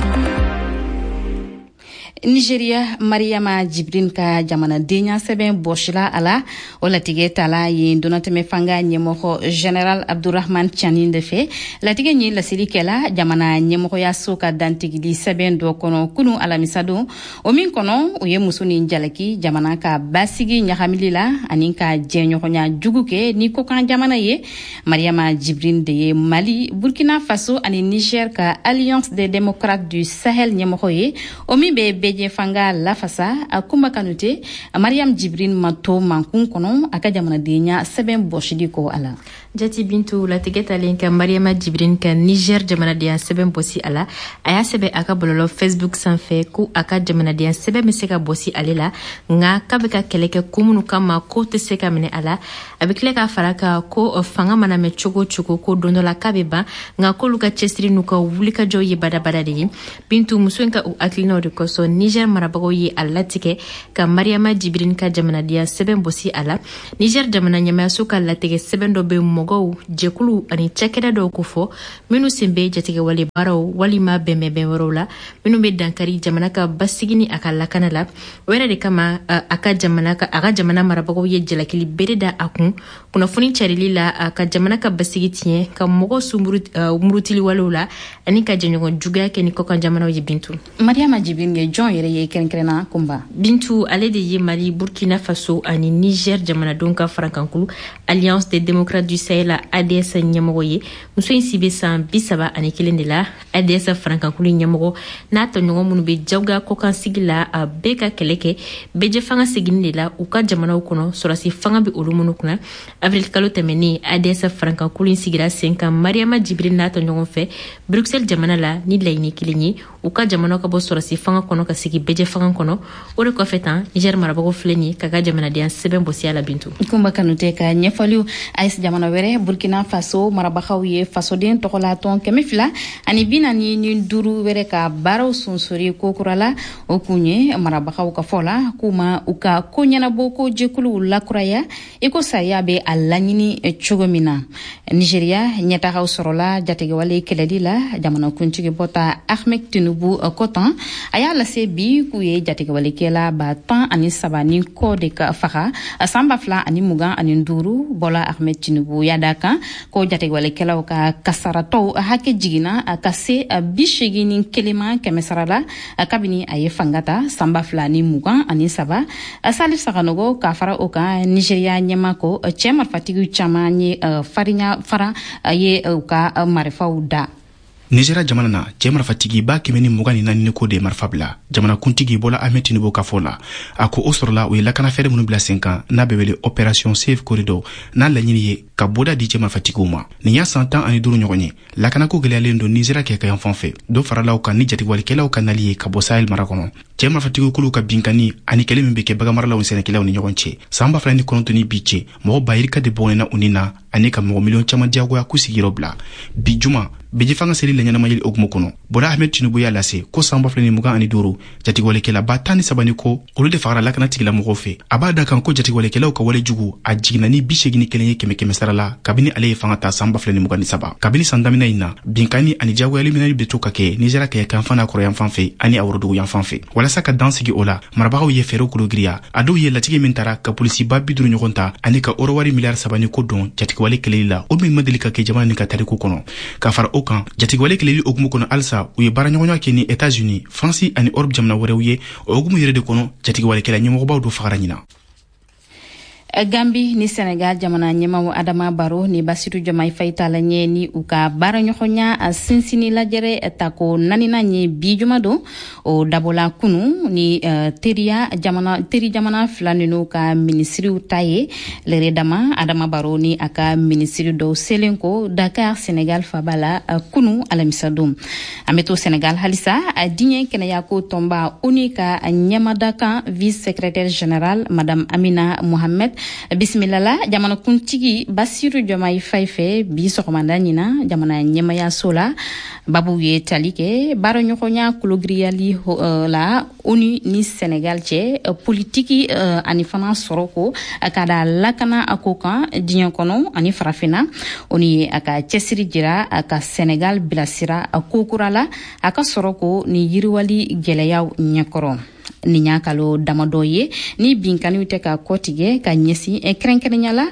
Nigeria, Mariama Jibrin ka jamanadenya sɛbɛn bɔsila a la. O latigɛ tala yen donatɛmɛ fanga ɲɛmɔgɔ Général Abdurahman Tiani de fɛ. Latigɛ ye laseli kɛla jamana ɲɛmɔgɔyaso ka dantigili sɛbɛn dɔ kɔnɔ kunu alamisadon, o min kɔnɔ o ye muso ni jalaki jamana ka basigi ɲagamili la ani ka jɛɲɔgɔnya jugu kɛ ni kokan jamana ye. Mariama Jibrin de ye Mali, Burkina Faso ani Niger ka Alliance des démocrates du Sahel ɲɛmɔgɔ ye, o min bɛ bɛɛ fanga lafasa. A Kuma Kanute, Mariam Jibrin ma to mankun kɔnɔ a ka jamanadenya sɛbɛn bɔsili kɔ a la. Jati Bintu, latigɛ talen ka Mariama Jibrin ka Niger jamanadenya sɛbɛn bɔsi a la, a y'a sɛbɛn a ka bɔlɔlɔ Facebook sanfɛ ko a ka jamanadenya sɛbɛn bɛ se ka bɔsi ale la, nka k'a bɛ ka kɛlɛ kɛ ko minnu kama, ko tɛ se ka minɛ a la. A bɛ tila k'a fara kan ko fanga mana mɛn cogo o cogo, ko don dɔ la k'a bɛ ban, nka k'olu ka cɛsiri n'u ka wulikajɔ ye badabada de ye. Bintu, muso in ka o hakilinaw de kosɔn. Niger marabagaw ye a latigɛ ka Mariama Jibrin ka jamanadenya sɛbɛn bɔsi a la. Niger jamana ɲɛmayaso ka latigɛ sɛbɛn dɔ bɛ mɔgɔw, jɛkuluw ani cakɛda dɔw kofɔ minnu sen bɛ jatigɛwale baaraw walima bɛnbɛnbɛn wɛrɛw la minnu bɛ dankari jamana ka basigi ni a ka lakana la. O yɛrɛ de kama a ka jamana ka a ka jamana marabagaw ye jalakili bere da a kun kunnafoni carili la a ka jamana ka basigi tiɲɛ, ka mɔgɔw sunmuru murutiliwalew la ani ka jɛɲɔgɔn juguya kɛ ni kɔkan jamanaw ye. Bintu, Mariama Jibrin ye jɔn yɛrɛ ye kɛrɛnkɛrɛnna Kunba? Bintu, ale de ye Mali, Burkina Faso ani Niger jamanadenw ka farankankulu Alliance des démocrates du Sahel A D S ɲɛmɔgɔ ye. Muso in si bɛ san bi saba ani kelen de la. A D S farankankulu ɲɛmɔgɔ n'a tɔɲɔgɔn minnu bɛ jagoya kɔkan sigi la, a bɛɛ ka kɛlɛ kɛ bɛɛjɛ fanga seginni de la u ka jamanaw kɔnɔ, sɔrɔsi fanga bɛ olu minnu kunna. Avril kalo tɛmɛnen, A D S farankankulu in sigira sen kan Mariama Jibrin n'a tɔɲɔgɔn fɛ Bruxelles jamana la ni laɲini kelen ye, u ka jamanaw ka bɔ sɔrɔsi fanga kɔnɔ ka sigi bɛɛjɛ fanga kɔnɔ. O de kɔfɛ tan, Niger marabagaw filɛ nin ye k'a ka jamanadenya sɛbɛn bɔsi a la. Bintu. Kunba Kanute ka ɲɛfɔliw. A E S jamana wɛrɛ, Burkina Faso marabagaw ye fasoden tɔgɔlatɔn kɛmɛ fila ani bi naani ni duuru wɛrɛ ka baaraw sonsori kokura la. O kun ye, marabagaw ka fɔ la, k'u ma u ka ko ɲɛnabɔ ko jɛkuluw lakuraya i ko sariya bɛ a laɲini cogo min na. Nigeriya, ɲɛtagaw sɔrɔla jatigɛwale kɛlɛli la, jamanakuntigi Bɔta Ahmed Tinubu kɔtan a y'a lase bi k'u ye jatigɛwalekɛla ba tan ani saba ni kɔ de ka faga san ba fila ani mugan ani duuru. Bɔla Ahmed Tinubu y'a da kan ko jatigɛwalekɛlaw ka kasaratɔw hakɛ jiginna ka se bi seegin ni kelen ma kɛmɛ sara la kabini a ye fanga ta san ba fila ni mugan ani saba. Salif Saganogo, ka fara o kan, Nigeriya ɲɛma ko cɛɛ marifatigiw caman ye farinya fara ye u ka marifaw da. Nizeriya jamana na, cɛɛ marifatigi ba kɛmɛ ni mugan ni naani ko de ye marifa bila, jamanakuntigi Bɔla Ahmed Tinubu ka fɔ la. A ko o sɔrɔla u ye lakanafɛɛrɛ minnu bila sen kan n'a bɛ wele Opération Safe Corridor, n'a laɲini ye ka boda di cɛ marifatigiw ma. Nin y'a san tan ani duuru ɲɔgɔn ye lakanako gwɛlɛyalen don Nizeriya kɛ ka fan fɛ. Dɔ faralaw kan ni jatigɛwalikɛlaw ka nali ye ka bɔ Sahel mara kɔnɔ, cɛɛ marifatigiw kuluw ka binkani ani kɛlɛ min be kɛ baganmaralaw ni sɛnɛkɛlaw ni ɲɔgɔn cɛ. Saan ba fila ni kɔnɔntɔn ni bi cɛ, mɔgɔ ba yirika de bɔgɔnɛna u ni na ani ka mɔgɔ miliyɔn caman diyagoya k'u sigiyɔrɔ bila. Bi juma beji fanga seli la ɲɛnamayeli hukumu kɔnɔ, Bɔla Ahmed Tinubu y'a lase ko san ba fila ni mugan ani duuru, jatigɛwalekɛla ba tan ni saba ni ko olu de fagara lakana tigilamɔgɔw fɛ. A b'a da kan ko jatigɛwalekɛlaw ka wale jugu a jiginna ni bi segin ni kelen ye kɛmɛ kɛmɛ sara la kabini ale ye fanga ta san ba fila ni mugan ni saba. Kabini san daminɛ in na, binkani ani jagoyali minɛli bɛ to ka kɛ Nizeriya kɛɲɛkanfan n'a kɔrɔyanfan fɛ ani a woroduguyanfan fɛ. Walasa ka dan sigi o la, marabagaw ye fɛɛrɛw kologiriya. A dɔw ye latigɛ min tara ka polisiba bi duuru ɲɔgɔn ta ani ka orowari miliyari saba ni ko don jatigɛwale kɛlɛli la, o min ma deli ka kɛ jamana nin ka tariku kɔnɔ. Ka fara o kan, jatigɛwale kɛlɛli hukumu kɔnɔ halisa, u ye baaraɲɔgɔnya kɛ ni Etats-Unis, Faransi ani Europe jamana wɛrɛw ye. O hukumu yɛrɛ de kɔnɔ, jatigɛwalekɛla ɲɛmɔgɔbaw dɔ fagara ɲina. Gambi ni Senegal jamana ɲɛmaw Adama Baro ni Basiru Jɔmai Fayi tala ɲɛ ni u ka baaraɲɔgɔnya sinsini lajɛrɛ tako naaninan ye bi juma don. O dabɔla kunu ni teriya jamana, teri jamana fila ninu ka minisiriw ta ye. Lɛrɛ dama, Adama Baro ni a ka minisiri dɔw selen ko Dakar, Senegal faba la, kunu alamisa don. An be to Senegal halisa. Diɲɛ kɛnɛyako tɔnba ONU ka ɲɛmadakan vice secrétaire général Madame Amina Mohamed bisimila la jamanakuntigi Basiru Jɔmayi Fayi fɛ bi sɔgɔmada ɲina jamana ɲɛmayaso la. Babu ye tali kɛ baaraɲɔgɔnya kologiriyali la ONU ni Senegal cɛ, politiki ani fana sɔrɔ ko ka da lakana a ko kan diɲɛ kɔnɔ ani farafinna. ONU ye a ka cɛsiri jira a ka Senegal bilasira ko kura la a ka sɔrɔ ko ni yiriwali gwɛlɛyaw ɲɛkɔrɔ. Nin y'a kalo damadɔ ye ni binkaniw tɛ ka kɔtigɛ ka ɲɛsin kɛrɛnkɛrɛnya la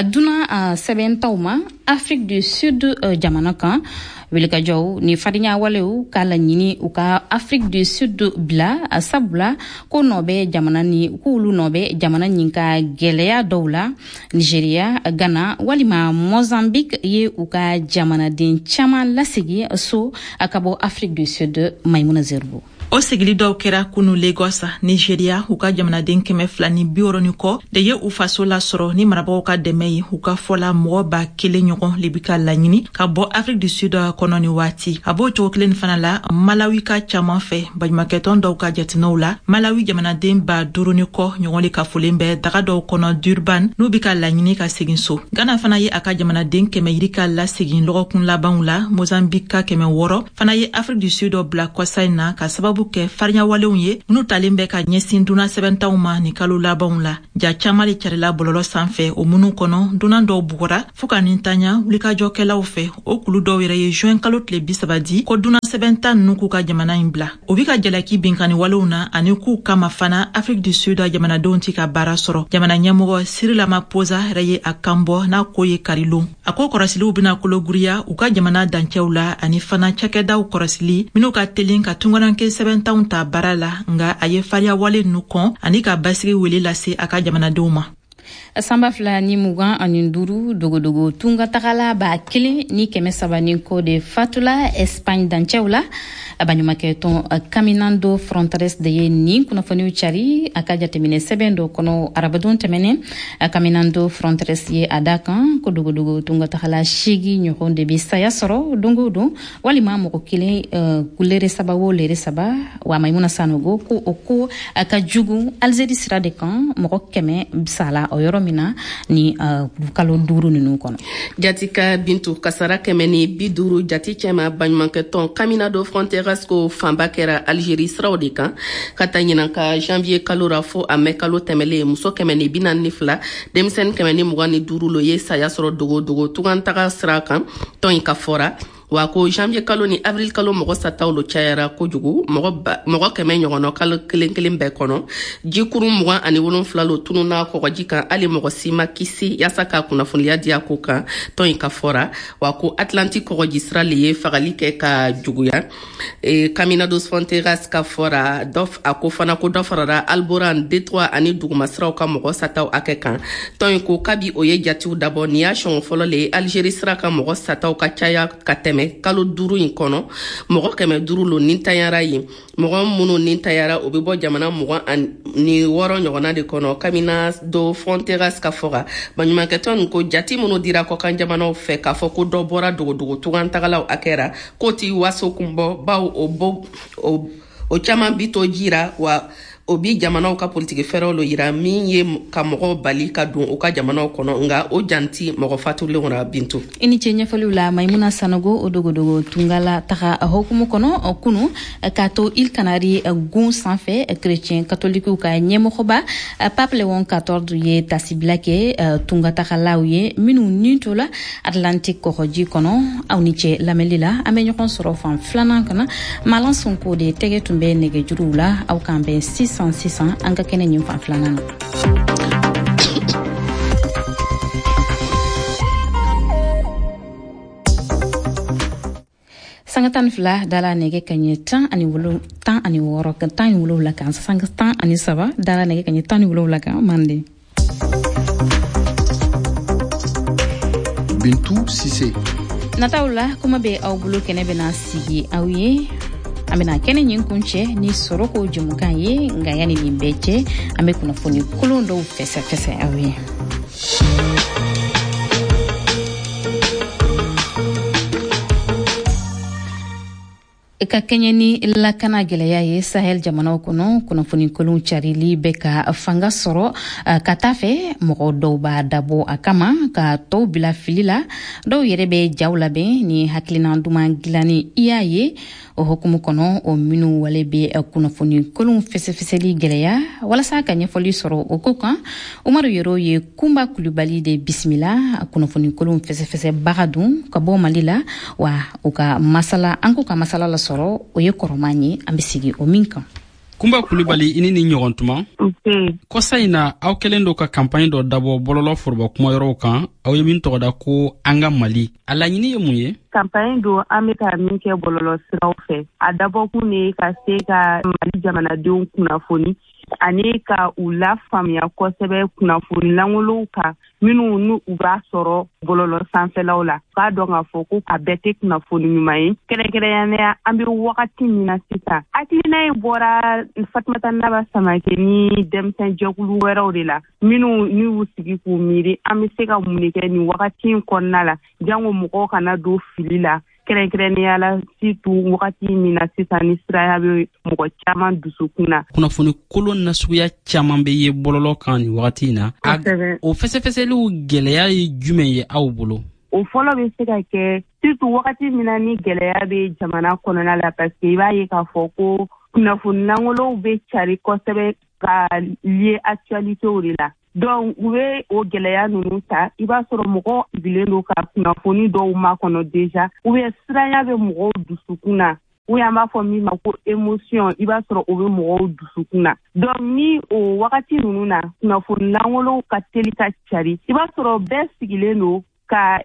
dunan sɛbɛntaw ma Afrique du Sud jamana kan. Wulikajɔw ni farinya walew k'a laɲini u ka Afrique du Sud bila, sabula ko nɔ bɛ jamana ni k'olu nɔ bɛ jamana nin ka gwɛlɛya dɔw la. Nigeria, Ghana walima Mozambique ye u ka jamanaden caman lasegi so ka bɔ Afrique du Sud. Maimuna Zerbo. O sigili dɔw kɛra kunu Lagos, Nigeria. U ka jamanaden kɛmɛ fila ni bi wɔrɔ ni kɔ de ye u faso lasɔrɔ ni marabagaw ka dɛmɛ ye. U ka fɔla, mɔgɔ ba kelen ɲɔgɔn le bi ka laɲini ka bɔ Afrique du Sud kɔnɔ ni waati. A b'o cogo kelen fana la Malawi ka caaman fɛ. Baɲumakɛtɔn dɔw ka jateminɛw la, Malawi jamanaden ba duuru ni kɔ ɲɔgɔn le kafolen bɛ daga dɔw kɔnɔ Durban, n'u bi ka laɲini ka segin so. Ghana fana ye a ka jamanaden kɛmɛ yirika lasegin lɔgɔkun labanw la. Mozambique ka kɛmɛ wɔrɔ fana ye Afrique du Sud bila kɔsa in na ka sababu sababu kɛ fariɲawalenw ye minnu talen bɛ ka ɲɛsin dunan sɛbɛntanw ma ni kalo labanw la. Ja caman de carila bɔlɔlɔ sanfɛ, o minnu kɔnɔ dunan dɔw bugɔra fɔɔ ka nin tanya wulikajɔkɛlaw fɛ. O kulu dɔw yɛrɛ ye juin kalo tile bi saba di ko dunan sɛbɛntan ninnu k'u ka jamana in bila. O bi ka jalaki binkanni walew na ani k'u kama fana Afrique du Sud jamanadenw ti ka baara sɔrɔ. Jamana ɲɛmɔgɔ Cyril Ramaphosa yɛrɛ ye a kan bɔ n'a ko ye karilon. A ko kɔrɔsiliw bena kologiriya u ka jamana dancɛw la ani fana cakɛdaw kɔrɔsili minw ka telin ka tungaranke sɛbɛntanw ta baara la, nga a ye fariyawale nu kɔn ani ka basigi wele lase a ka jamanadenw ma. Sanba fila ni mugan ani duuru dogodogo tunga tagala ba kelen ni kɛmɛ saba ni kɔ de fatula Espagne dancɛw la. Baɲumankɛ tɔn Caminando Fronteras de ye nin kunnafoniw cari a ka jateminɛ sɛbɛn dɔ kɔnɔ arabadon tɛmɛnen. Caminando Fronteras ye a da kan ko dogodogo tunga tagala seegin ɲɔgɔn de bɛ saya sɔrɔ don o don, walima mɔgɔ kelen lere saba o lere saba. Wa Maimuna Sanogo ko o ko a ka jugu Algérie sira de kan, mɔgɔ kɛmɛ sala o yɔrɔ min na ni uh, kalo duuru ninnu kɔnɔ. Jatika Bintu, kasara kɛmɛ ni bi duuru jati cɛma baɲumankɛ tɔn Caminando Fronteras ko fanba kɛra Algérie siraw de kan ka taa ɲinan ka janvier kalo ra fo a mɛ kalo tɛmɛlen. Muso kɛmɛ ni bi naani ni fila, denmisɛnnin kɛmɛ ni mugan ni duuru lo ye saya sɔrɔ dogodogo tungantaga sira kan tɔn in ka fɔra. Wa ko janvier kalo ni avril kalo mɔgɔ sataw lo cayara kojugu, mɔgɔ kɛmɛ ɲɔgɔnna kalo kelen kelen bɛɛ kɔnɔ. Jikuru mugan ani wolonfila lo tununa kɔgɔji kan, hali mɔgɔ si ma kisi yaasa ka kunnafoniya di a ko kan tɔn in ka fɔra. Wa ko Atlantique kɔgɔji sira le ye fagali kɛ ka juguya. E, Caminando Fronteras ka fɔra dɔ a ko fana ko dɔ farara Alboran, Détroit ani dugumasiraw ka mɔgɔ sataw hakɛ kan. Tɔn in ko kabi o ye jatiw dabɔ nin y'a siɲɛ fɔlɔ le ye Algérie sira ka mɔgɔ sataw ka caya ka tɛmɛ kalo duuru in kɔnɔ. Mɔgɔ kɛmɛ duuru lo nintanyara yen. Mɔgɔ minnu nintanyara o bɛ bɔ jamana mugan ni wɔɔrɔ ɲɔgɔnna de kɔnɔ. Caminando Fronteras ka fɔra baɲumankɛtɔn ko jati minnu dira kɔkan jamanaw fɛ k'a fɔ ko dɔ bɔra dogodogo tungantagalaw hakɛ ra, k'o ti waso kun bɔ, bawo o bo o, o caman bi to jira wa o bi jamanaw ka politiki fɛɛrɛw lo yira min ye ka mɔgɔw bali ka don u ka jamanaw kɔnɔ, nga o janti mɔgɔ fatulenw ra. Bintu, i ni ce ɲɛfɔliw la Maimuna Sanogo. O dogodogo tungala taga hokumu kɔnɔ kunu k'a to Îles Canaries gun sanfɛ, chrétien katolikiw ka ɲɛmɔgɔba Pape Léon quatorze ye tasibila kɛ tungatagalaw ye minnu ni tola Atlantique kɔgɔji kɔnɔ. Aw ni ce lamɛnli la, an bɛ ɲɔgɔn sɔrɔ fan filanan kana. Malan Sonko de tɛgɛ tun bɛ nɛgɛjuruw la. Aw k'an bɛn sisan sisan an ka kɛnɛ nin fan filanan na. Sanga tan fila dala nɛgɛ kaɲɛ tan ani wolo tan ani wɔɔrɔ tan ni wolonwula kan, sanga tan ani saba dala nɛgɛ kaɲɛ tan ni wolonwula kan. Manden Bintu Sise nataw la kuma bɛ aw bolo, kɛnɛ bɛna sigi aw ye. An bɛna kɛnɛ ɲin kun cɛ ni sɔrɔ ko jɛmukan ye, nka yanni nin bɛɛ cɛ an bɛ kunnafoni kolon dɔw fɛsɛfɛsɛ aw ye. Ka kɛɲɛ ni lakana gɛlɛya ye Sahel jamanaw kɔnɔ, kunnafoni kolon carili bɛ ka fanga sɔrɔ ka taa fɛ. Mɔgɔ dɔw b'a dabɔ a kama ka tɔw bila fili la, dɔw yɛrɛ bɛ jaw labɛn ni hakilina duman dilanni i y'a ye. O hukumu kɔnɔ, o minnu wale bɛ kunnafoni kolon fɛsɛfɛsɛli gɛlɛya. Walasa ka ɲɛfɔli sɔrɔ o ko kan, Umaru Yero ye Kunba Kulubali de bisimila, kunnafoni kolon fɛsɛfɛsɛbaga dun ka bɔ Mali la. Wa u ka masala, an k'u ka masala lasɔrɔ, o ye kɔrɔman ye, an bɛ sigi o min kan. Kunba Kulubali, i ni ni ɲɔgɔn tuma. Kɔsa in na, aw kɛlen do ka kanpaɲi dɔ dabɔ bɔlɔlɔ foroba kumayɔrɔw kan, aw ye min tɔgɔ da ko An ka Mali. A laɲini ye mun ye? Kanpaɲi don an bɛ ka min kɛ bɔlɔlɔ siraw fɛ. A dabɔkun de ye ka se ka Mali jamanadenw kunnafoni ani ka u lafaamuya kosɛbɛ kunnafoni lankolonw kan minnu n'u u b'a sɔrɔ bɔlɔlɔ sanfɛlaw la. K'a dɔn k'a fɔ ko a bɛɛ tɛ kunnafoni ɲuman ye. Kɛrɛnkɛrɛnnenya an bɛ wagati min na sisan, hakilina in bɔra Fatumata Naba Samake ni denmisɛn jɛkulu wɛrɛw de la minnu n'u y'u sigi k'u miiri an bɛ se ka mun de kɛ nin wagati in kɔnɔna la, jango mɔgɔw kana don fili la. Kɛrɛnkɛrɛnnenya la surtout wagati min na sisan ni siraya bɛ mɔgɔ caman dusukun na. Kunnafoni kolon nasuguya caman bɛ ye bɔlɔlɔ kan nin wagati in na. O fɛsɛfɛsɛliw gɛlɛya ye jumɛn ye aw bolo? O fɔlɔ bɛ se ka kɛ surtout wagati min na ni gɛlɛya bɛ jamana kɔnɔna la, parce que i b'a ye k'a fɔ ko Kunnafoni lankolonw bɛ cari kosɛbɛ ka lié actualitéw de la. Donc u bɛ o gɛlɛya ninnu ta, i b'a sɔrɔ mɔgɔw sigilen don ka kunnafoni dɔw makɔnɔ déjà, ou bien siranya bɛ mɔgɔw dusukun na, ou bien an b'a fɔ min ma ko émotion, i b'a sɔrɔ o bɛ mɔgɔw dusukun na. Donc ni o wagati ninnu na kunnafoni lankolonw ka teli ka cari, i b'a sɔrɔ bɛɛ sigilen don ka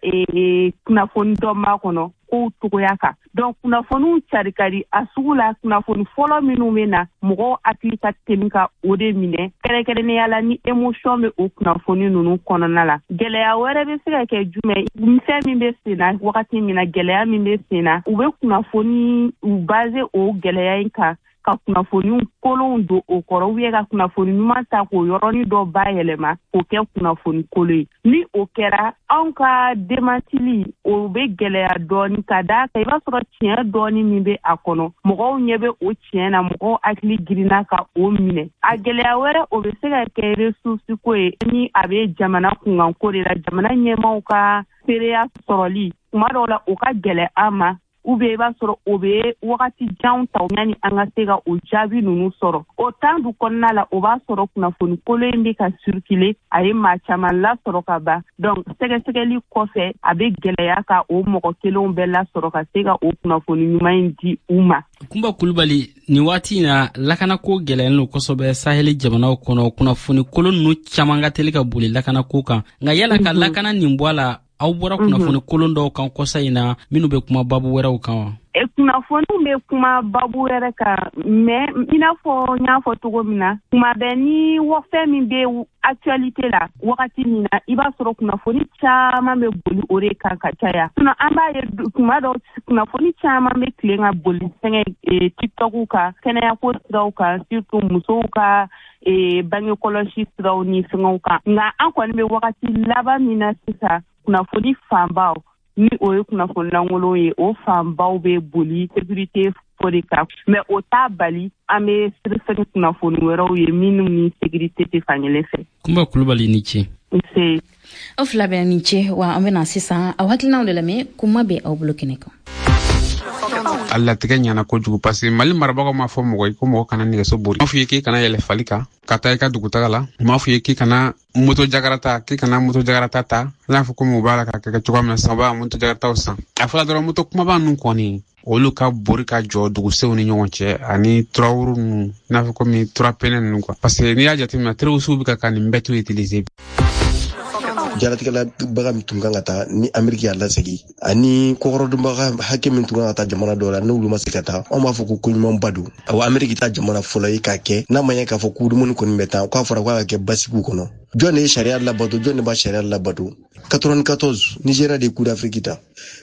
kunnafoni dɔ makɔnɔ kow cogoya kan. Donc kunnafoniw cari ka di a sugu la. Kunnafoni fɔlɔ minnu bɛ na, mɔgɔw hakili ka teli ka o de minɛ, kɛrɛnkɛrɛnnenya la ni émotion bɛ o kunnafoni ninnu kɔnɔna la. Gɛlɛya wɛrɛ bɛ se ka kɛ jumɛn? Fɛn min bɛ sen na wagati min na, gɛlɛya min bɛ sen na, u bɛ kunnafoni u base o gɛlɛya in kan ka kunnafoni kolonw don o kɔrɔ, ou bien ka kunnafoni ɲuman ta k'o yɔrɔnin dɔ bayɛlɛma k'o kɛ kunnafoni kolon ye. Ni o kɛra, anw ka demantili o bɛ gɛlɛya dɔɔni, ka d'a kan i b'a sɔrɔ tiɲɛ dɔɔni min bɛ a kɔnɔ, mɔgɔw ɲɛ bɛ o tiɲɛ na, mɔgɔw hakili girinna ka o minɛ. A gɛlɛya wɛrɛ, o bɛ se ka kɛ ressource ko ye, ni a bɛ jamana kunkanko de la, jamana ɲɛmaaw ka seereya sɔrɔli tuma dɔw la o ka gɛlɛn an ma, ou bien i b'a sɔrɔ o bɛ wagati janw ta yanni an ka se ka o jaabi ninnu sɔrɔ. O temps du kɔnɔna la, o b'a sɔrɔ kunnafoni kolon in bɛ ka circuler, a ye maa caman lasɔrɔ ka ban. Donc sɛgɛsɛgɛli kɔfɛ, a bɛ gɛlɛya ka o mɔgɔ kelenw bɛɛ lasɔrɔ ka se ka o kunnafoni ɲuman in di u ma. Kunba Kulubali, nin waati in na lakanako gɛlɛyalen don kosɛbɛ saheli jamanaw kɔnɔ. Kunnafoni kolon ninnu caman ka teli ka boli lakanako kan, nka yala ka lakana nin bɔ a la, aw bɔra kunnafoni kolon dɔw kan kɔsa in na minnu bɛ kuma babu wɛrɛw kan wa? Kunnafoniw bɛ kuma babu wɛrɛ kan, mais i n'a fɔ n y'a fɔ cogo min na, tuma bɛɛ ni fɛn min bɛ actualité la wagati min na, i b'a sɔrɔ kunnafoni caman bɛ boli o de kan ka caya. Sinon an b'a ye tuma dɔw kunnafoni caman bɛ tilen ka boli fɛngɛ TikTok kan, kɛnɛyako siraw kan, surtout musow ka bange kɔlɔsi siraw ni fɛngɛw kan. Nka an kɔni bɛ wagati laban min na sisan, kunnafoni fanbaw ni o ye kunnafoni lankolon ye, o fanbaw bɛ boli sécurité ko de kan, mais o t'a bali an bɛ sɛgɛsɛgɛ kunnafoni wɛrɛw ye minnu ni sécurité tɛ fankelen fɛ. Kunba Kulubali, ni ce. Nse. Aw fila bɛɛ ni ce. Wa an bɛna sisan aw hakilinaw de lamɛn, kuma bɛ aw bolo kɛnɛ kan. A latigɛ ɲɛna kojugu parce que Mali marabagaw m'a fɔ mɔgɔ ye ko mɔgɔ kana nɛgɛso bori. U m'a f'i ye k'i kana yɛlɛ fali kan ka taa i ka dugutaga la. U m'a f'i ye k'i kana moto jakarata, k'i kana moto jakarata ta. I n'a fɔ komi u b'a la ka kɛ cogoya min na sisan, u b'a moto jakarataw san. A fɔra dɔrɔn moto kumaba ninnu kɔni, olu ka bori ka jɔ dugusenw ni ɲɔgɔn cɛ, ani turawuru ninnu, i n'a fɔ komi turapɛnɛ ninnu quoi. Parce que n'i y'a jateminɛ, terrorisiw bɛ ka ka nin bɛɛ to utiliser. Jaratigɛla baga min tun kan ka taa ni Ameriki y'a lasegin, ani kɔkɔrɔdonbaga hakɛ min tun kan ka taa jamana dɔw la n'olu ma se ka taa, anw b'a fɔ ko koɲumanba don. Awa, Ameriki ta jamana fɔlɔ ye k'a kɛ, n'a ma ɲɛ k'a fɔ ko dumuni kɔni bɛ taa, k'a fɔra k'a ka kɛ basigiw kɔnɔ. Jɔn de ye sariya labato? Jɔn de b'a sariya labato? quatre-vingt-quatorze, Nigeria de ye Coupe d'Afrique ta.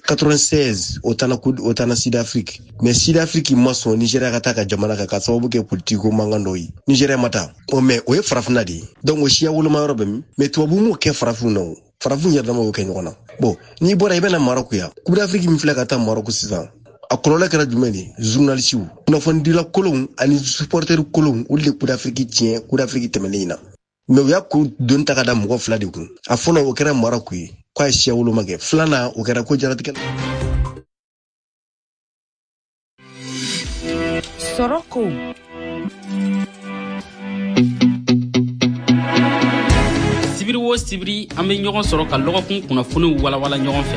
quatre-vingt-seize, o taara o taara Sud Afrique, mais Sud Afrique ma sɔn Nigeria ka taa ka jamana kan ka sababu kɛ politique ko mankan dɔw ye. Nigeria ma taa o, mais o ye farafinna de ye. Donc o siya woloma yɔrɔ bɛ min? Mais tubabu m'o kɛ farafin na, o farafin yɛrɛ dama y'o kɛ ɲɔgɔn na. Bon, n'i bɔra i bɛna Maroc yan, Coupe d'Afrique min filɛ ka taa Maroc sisan, a kɔlɔlɔ kɛra jumɛn de ye? Journalisiw, kunnafonidila kolonw ani supporter kolonw, olu de Coupe d'Afrique tiɲɛ Coupe d'Afrique tɛmɛnen in na. Mais u y'a ko doni ta ka da mɔgɔ fila de kun. A fɔlɔ, o kɛra Maroc ye k'a ye siya woloma kɛ. Filanan, o kɛra ko jaratigɛ. Sɔrɔ ko sibiri o sibiri, an bɛ ɲɔgɔn sɔrɔ ka lɔgɔkun kunnafoniw walawala ɲɔgɔn fɛ.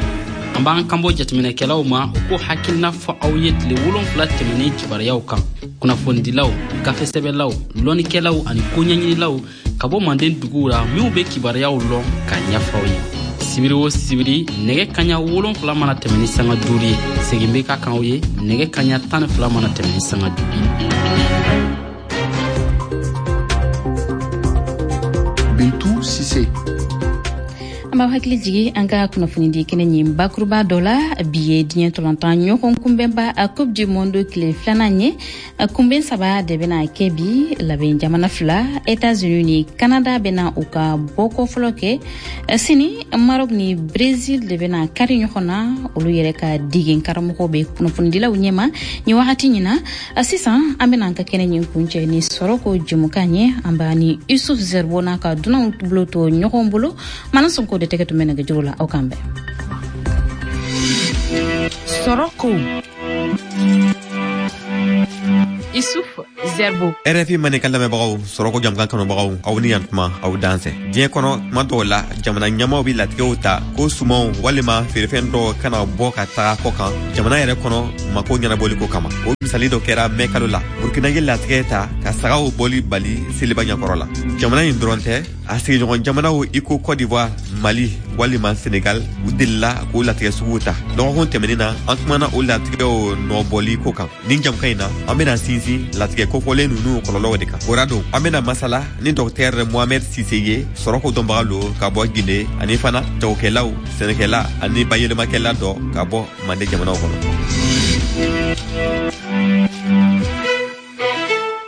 An b'an kanbɔ jateminɛkɛlaw ma, u k'o hakilina fɔ aw ye tile wolonfila tɛmɛnen kibaruyaw kan. Kunnafonidilaw, gafesɛbɛlaw, lɔnnikɛlaw ani koɲɛɲinilaw ka bɔ manden duguw la minw bɛ kibaruyaw lɔn k'a ɲɛfɔ aw ye. Sibiri o sibiri, nɛgɛ kaɲa wolonfila mana tɛmɛ ni sanga duuru ye, segin bɛ ka kan aw ye nɛgɛ kaɲa tan ni fila mana tɛmɛ ni sanga duuru ye. Bintu Sise. An b'aw hakili jigi an ka kunnafonidi kɛnɛ ɲin bakuruba dɔ la. Bi ye diɲɛ tɔlɔntan ɲɔgɔn kunbɛnba a Coupe du Monde tile filanan ye. Kunbɛn saba de bɛna kɛ bi. Labɛn jamana fila, États-Unis ni Canada, bɛna u ka bɔko fɔlɔ kɛ. Sini, Maroc ni Brésil de bɛna kari ɲɔgɔn na. Olu yɛrɛ ka degen karamɔgɔw bɛ kunnafonidilaw ɲɛma nin wagati ɲin na. Sisan an bɛna an ka kɛnɛ ɲin kuncɛ ni sɔrɔ ko jɛmukan ye. An b'a ni Yusuf Zerbo n'a ka dunanw bolo to ɲɔgɔn bolo. Mana Sonko de tɛgɛ tun bɛ nɛgɛjuru la. Aw kan bɛn. Sɔrɔ ko Issouf Zerbo. R F I Mandenkan lamɛnbagaw, sɔrɔko jamukan kanubagaw, aw ni yantuma, aw dansɛ. Diɲɛ kɔnɔ, tuma dɔw la, jamana ɲɛmaw bi latigɛw ta ko sumanw walima feerefɛn dɔw kana bɔ ka taga kɔ kan jamana yɛrɛ kɔnɔ, mako ɲɛnabɔliko kama. O misali dɔ kɛra mɛ kalo la, Burkina ye latigɛ ta ka sagaw bɔli bali seliba ɲɛkɔrɔ la. Jamana nin dɔrɔn tɛ, a sigiɲɔgɔn jamanaw i ko Cote d'Ivoire, Mali walima Senegal, u delila k'o latigɛ suguw ta. Dɔgɔkun tɛmɛnin na, an kumana o latigɛw nɔbɔli ko kan. Nin jamukan in na, an bena sinsin latigɛ kofɔlen nunu kɔlɔlɔw de kan. O ra don, an bena masala ni Dɔktɛr Mohamɛd Sise ye, sɔrɔko dɔnbaga lo ka bɔ Gine, ani fana jagokɛlaw, sɛnɛkɛla ani bayɛlɛmakɛla dɔ ka bɔ Mande jamanaw kɔnɔ.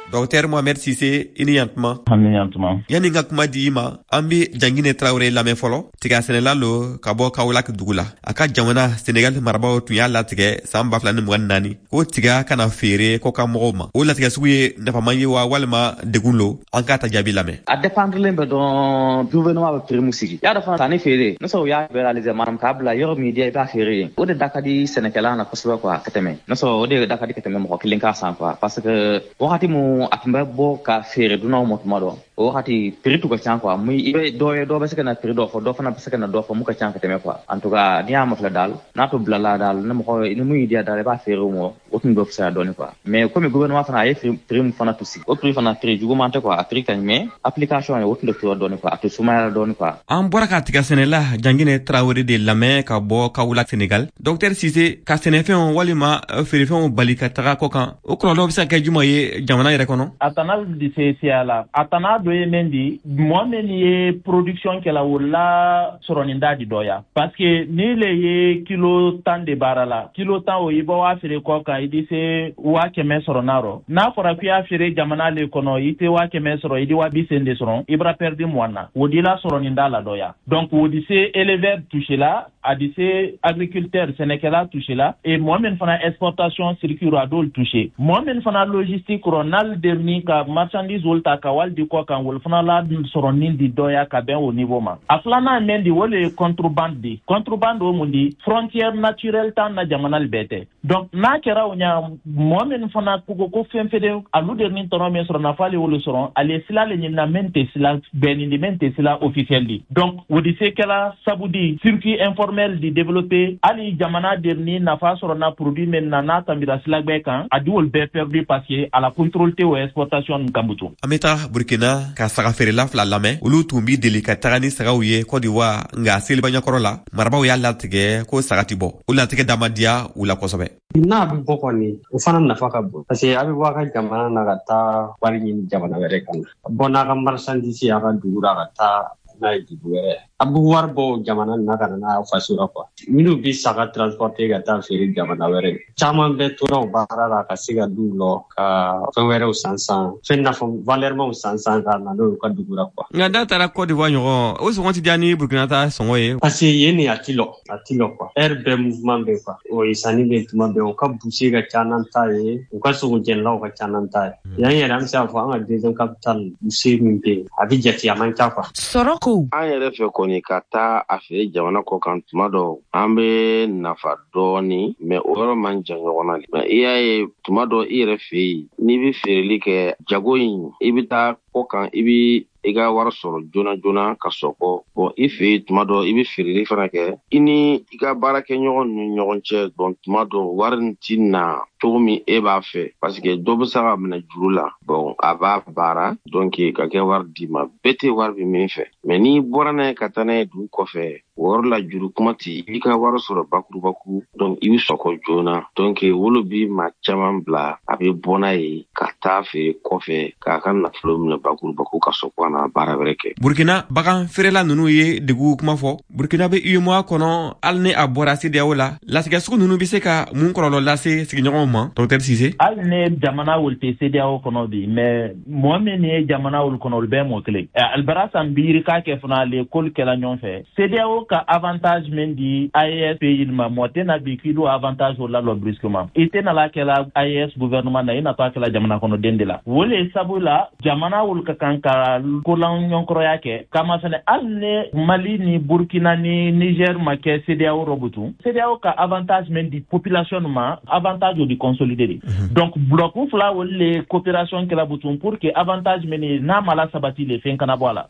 Dɔktɛr Mohamɛd Sise, i ni yantuma. Ani yantuma. Yani n ka kuma di i ma, an be Jangine Tarawele lamɛn fɔlɔ. Tiga sɛnɛla lo ka bɔ Kawolak dugu la. A ka jamana Senegal marabaw tun y'a latigɛ saan ba fila ni mugan ni naani ko tiga kana feere kɔkan mɔgɔw ma. O latigɛ sugu ye nafaman ye wa, walima degun lo? An k'a ta jaabi lamɛn. A dépendrelen bɛ dɔrɔn gouvernement bɛ prix mun sigi. Y'a dɔn fana, sanni feere n'o sɔrɔ u y'a libéraliser, maanaam k'a bila yɔrɔ min diya i b'a feere yen, o de da ka di sɛnɛkɛla na kosɛbɛ quoi ka tɛmɛ n'o sɔrɔ o de da ka di ka tɛmɛ mɔgɔ kelen k'a san quoi, parce que wagati mun a tun bɛ bɔ ka feere dunanw ma tuma dɔ, o wagati prix tun ka ca quoi. Mun i bɛ dɔ ye, dɔ bɛ se ka na prix dɔ fɔ, dɔ fana bɛ se ka na dɔ fɔ mun ka ca ka tɛmɛ quoi. En tout cas, n'i y'a mafilɛ daal, n'a to bilala daal, ni mɔgɔ ni mun y'i diya daal, i b'a feere o ma, o tun bɛ fisaya dɔɔni quoi. Mais komi gouvernement fana a ye prix mun fana to sigi, o prix fana prix juguman tɛ quoi, a prix ka ɲi, mais application ye o tun tɛ tora dɔɔni quoi, a tɛ sumaya dɔɔni quoi. An bɔra ka tiga sɛnɛla Jangine Tarawele de lamɛn ka bɔ Kawula, Senegal. Dɔktɛr Sise, ka sɛnɛfɛnw walima feerefɛnw bali ka taga kɔ kan, o kɔlɔlɔ bɛ se ka kɛ juma ye jamana yɛrɛ kɔnɔ? A tana di se siya la. A tana dɔ ye min di, mɔgɔ min ye production kɛla, o la sɔrɔninda di dɔya, parce que ni le ye kilo tan de baara la, kilo tan o, i bɔ waa feere kɔ kan, i di se waa kɛmɛ sɔrɔ n'a rɔ. N'a fɔra k'i y'a feere jamana le kɔnɔ, i tɛ waa kɛmɛ sɔrɔ, i di waa bi sen de sɔrɔ, i bara perdu mugan na. O di la sɔrɔninda la dɔya. Donc o di se éleveur touché la, a di se agriculteur, sɛnɛkɛla touché la, et mɔgɔ min fana exportation circuit a d'olu touché, mɔgɔ min fana logistique rɔ, n'ale derni ka marchandise olu ta ka wali di kɔ kan, olu fana la sɔrɔ di dɔya ka bɛn o niveau ma. A filanan min di, o le ye contrebande di. Contrebande o mun di? Frontière naturelle t'an na jamana bɛɛ tɛ. Donc n'a kɛra o ɲa, mɔgɔ min fana ko ko fɛn fɛn alu derni tɔnɔ min sɔrɔ, nafa le wolo sɔrɔ, ale sila le ɲinina min tɛ sila bɛnni di, min tɛ sila officiel di. Donc o di se kɛla sabu di circuit informel di développer. Hali jamana derni nafa sɔrɔ na produit min na, n'a tambira sila gbɛ kan, a di olu bɛɛ perdu, parce que a la contrôle tɛ o exportation nin kan butu. An bɛ taga Burkina ka saga feerela fila lamɛn. Olu tun bi deli ka taga ni sagaw ye Cote d'Ivoire, nka seliba ɲɛkɔrɔ la, marabaw y'a latigɛ ko saga ti bɔ. O latigɛ dama diya u la kosɛbɛ. N'a bɛ bɔ kɔni, o fana nafa ka bon, parce que a bɛ bɔ a ka jamana na ka taa wari ɲini jamana wɛrɛ kan, bɔ n'a ka marchandise a ka dugu la ka taa n'a ye dugu wɛrɛ, a bɛ wari bɔ jamana na ka na n'a faso la quoi. Minnu bɛ saga transporter ka taa feere jamana wɛrɛ, caman bɛ tora o baara la ka se ka duw lɔ ka fɛn wɛrɛw san san, fɛn nafa valɛrimaw san san ka na n'o ye u ka dugu la quoi. Nka n'a taara Cote d'Ivoire ɲɔgɔn, o sɔngɔ ti diya ni Burkina ta sɔngɔ ye? Parce que yen nin, a ti lɔ, a ti lɔ quoi, heure bɛɛ mouvement bɛ quoi. O ye sanni bɛ tuma bɛɛ, o ka boucher ka ca n'an ta ye, u ka sogo jɛnilaw ka ca n'an ta ye. Yan yɛrɛ, an bɛ se k'a fɔ an ka deuxième capitale, boucher min bɛ yen, a bɛ jate, a man ca quoi. Sɔrɔ ko. An yɛrɛ fɛ kɔni, ka taa a feere jamana kɔ kan, tuma dɔ an bɛ nafa dɔɔni, mais o yɔrɔ man jan ɲɔgɔn na. Mais i y'a ye, tuma dɔ i yɛrɛ fɛ yen, n'i bɛ feereli kɛ jago in, i bɛ taa kɔ kan, i bɛ i ka wari sɔrɔ joona joona ka sɔkɔ. Bon, i fɛ yen, tuma dɔ i bɛ feereli fana kɛ, i ni i ka baarakɛɲɔgɔn ni ɲɔgɔn cɛ. Bon, tuma dɔ wari nin ti na cogo min e b'a fɛ, parce que dɔ bɛ se ka minɛ juru la. Bon, a b'a baara, donc ka kɛ wari d'i ma, bɛɛ tɛ wari bɛ min fɛ. Mais n'i bɔra n'a ye ka taa n'a ye dugu kɔfɛ, o yɔrɔ la juru kuma ti, i ka wari sɔrɔ bakurubaku, donc i bɛ sɔkɔ joona. Donc wolo bi maa caman bila, a bɛ bɔ n'a ye ka taa feere kɔfɛ k'a ka nafolo minɛ bakurubaku ka sɔkɔ na baara wɛrɛ kɛ. Burkina bagan feerela ninnu ye degun kuma fɔ. Burkina bɛ UEMOA kɔnɔ, hali ni a bɔra CEDEAO la. Latigɛ sugu ninnu bɛ se ka mun kɔlɔlɔ lase sigiɲɔgɔnw ma, Docteur Sise? Hali ni jamana wolu tɛ CEDEAO kɔnɔ bi, mais mɔgɔ min ye jamana wolu kɔnɔ, olu bɛɛ mɔgɔ kelen. Alibara san biiri k'a kɛ fana le k'olu kɛla ɲɔgɔn fɛ. CEDEAO ka avantage min di A E S pays ma, mɔgɔ tɛ na bi k'i d'o avantage o lalɔ brusquement. I tɛ nala kɛla A E S gouvernement na, i natɔ a kɛla jamana kɔnɔden de la. O le sabu la, jamana wolu ka kan ka kolan ɲɔgɔnkɔrɔya kɛ kama fɛnɛ. Hali ni Mali ni Burkina ni Niger ma kɛ CEDEAO rɔ butun, CEDEAO ka avantage min di population ma, avantage o di di consolider de. Donc bloc fila, olu le coopération kɛla butun pour que avantage min ye n'a ma la sabati le, fɛn kana bɔ a la.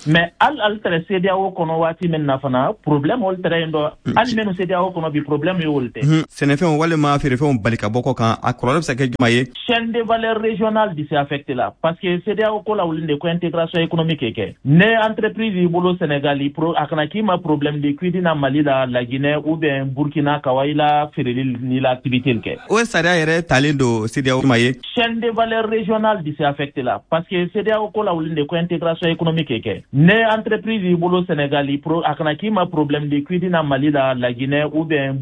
Mais hali ali tɛrɛ CEDEAO kɔnɔ waati min na fana, problème olu tɛrɛ yen dɔ. Hali minnu CEDEAO kɔnɔ bi, problème ye olu tɛ. Sɛnɛfɛnw walima feerefɛnw bali ka bɔ kɔ kan, a kɔlɔlɔ bɛ se ka kɛ jumɛn ye? Chaîne de valeur régionale di se affecté la, parce que CEDEAO ko la, wuli de ko intégration économique kɛ. Ne entreprise y'i bolo Sénégal, a kana k'i ma problème de k'i na Mali la, la Guinée ou bien Burkina, ka wa i la feereli ni la activité kɛ. O sariya yɛrɛ talen don CEDEAO ma ye. Chaîne de valeur régionale di se affecté la, parce que CEDEAO ko la, wuli de ko intégration économique kɛ. Ne entreprise y'i bolo Sénégal, a kana k'i ma problème de k'i na Mali la, la Guinée ou bien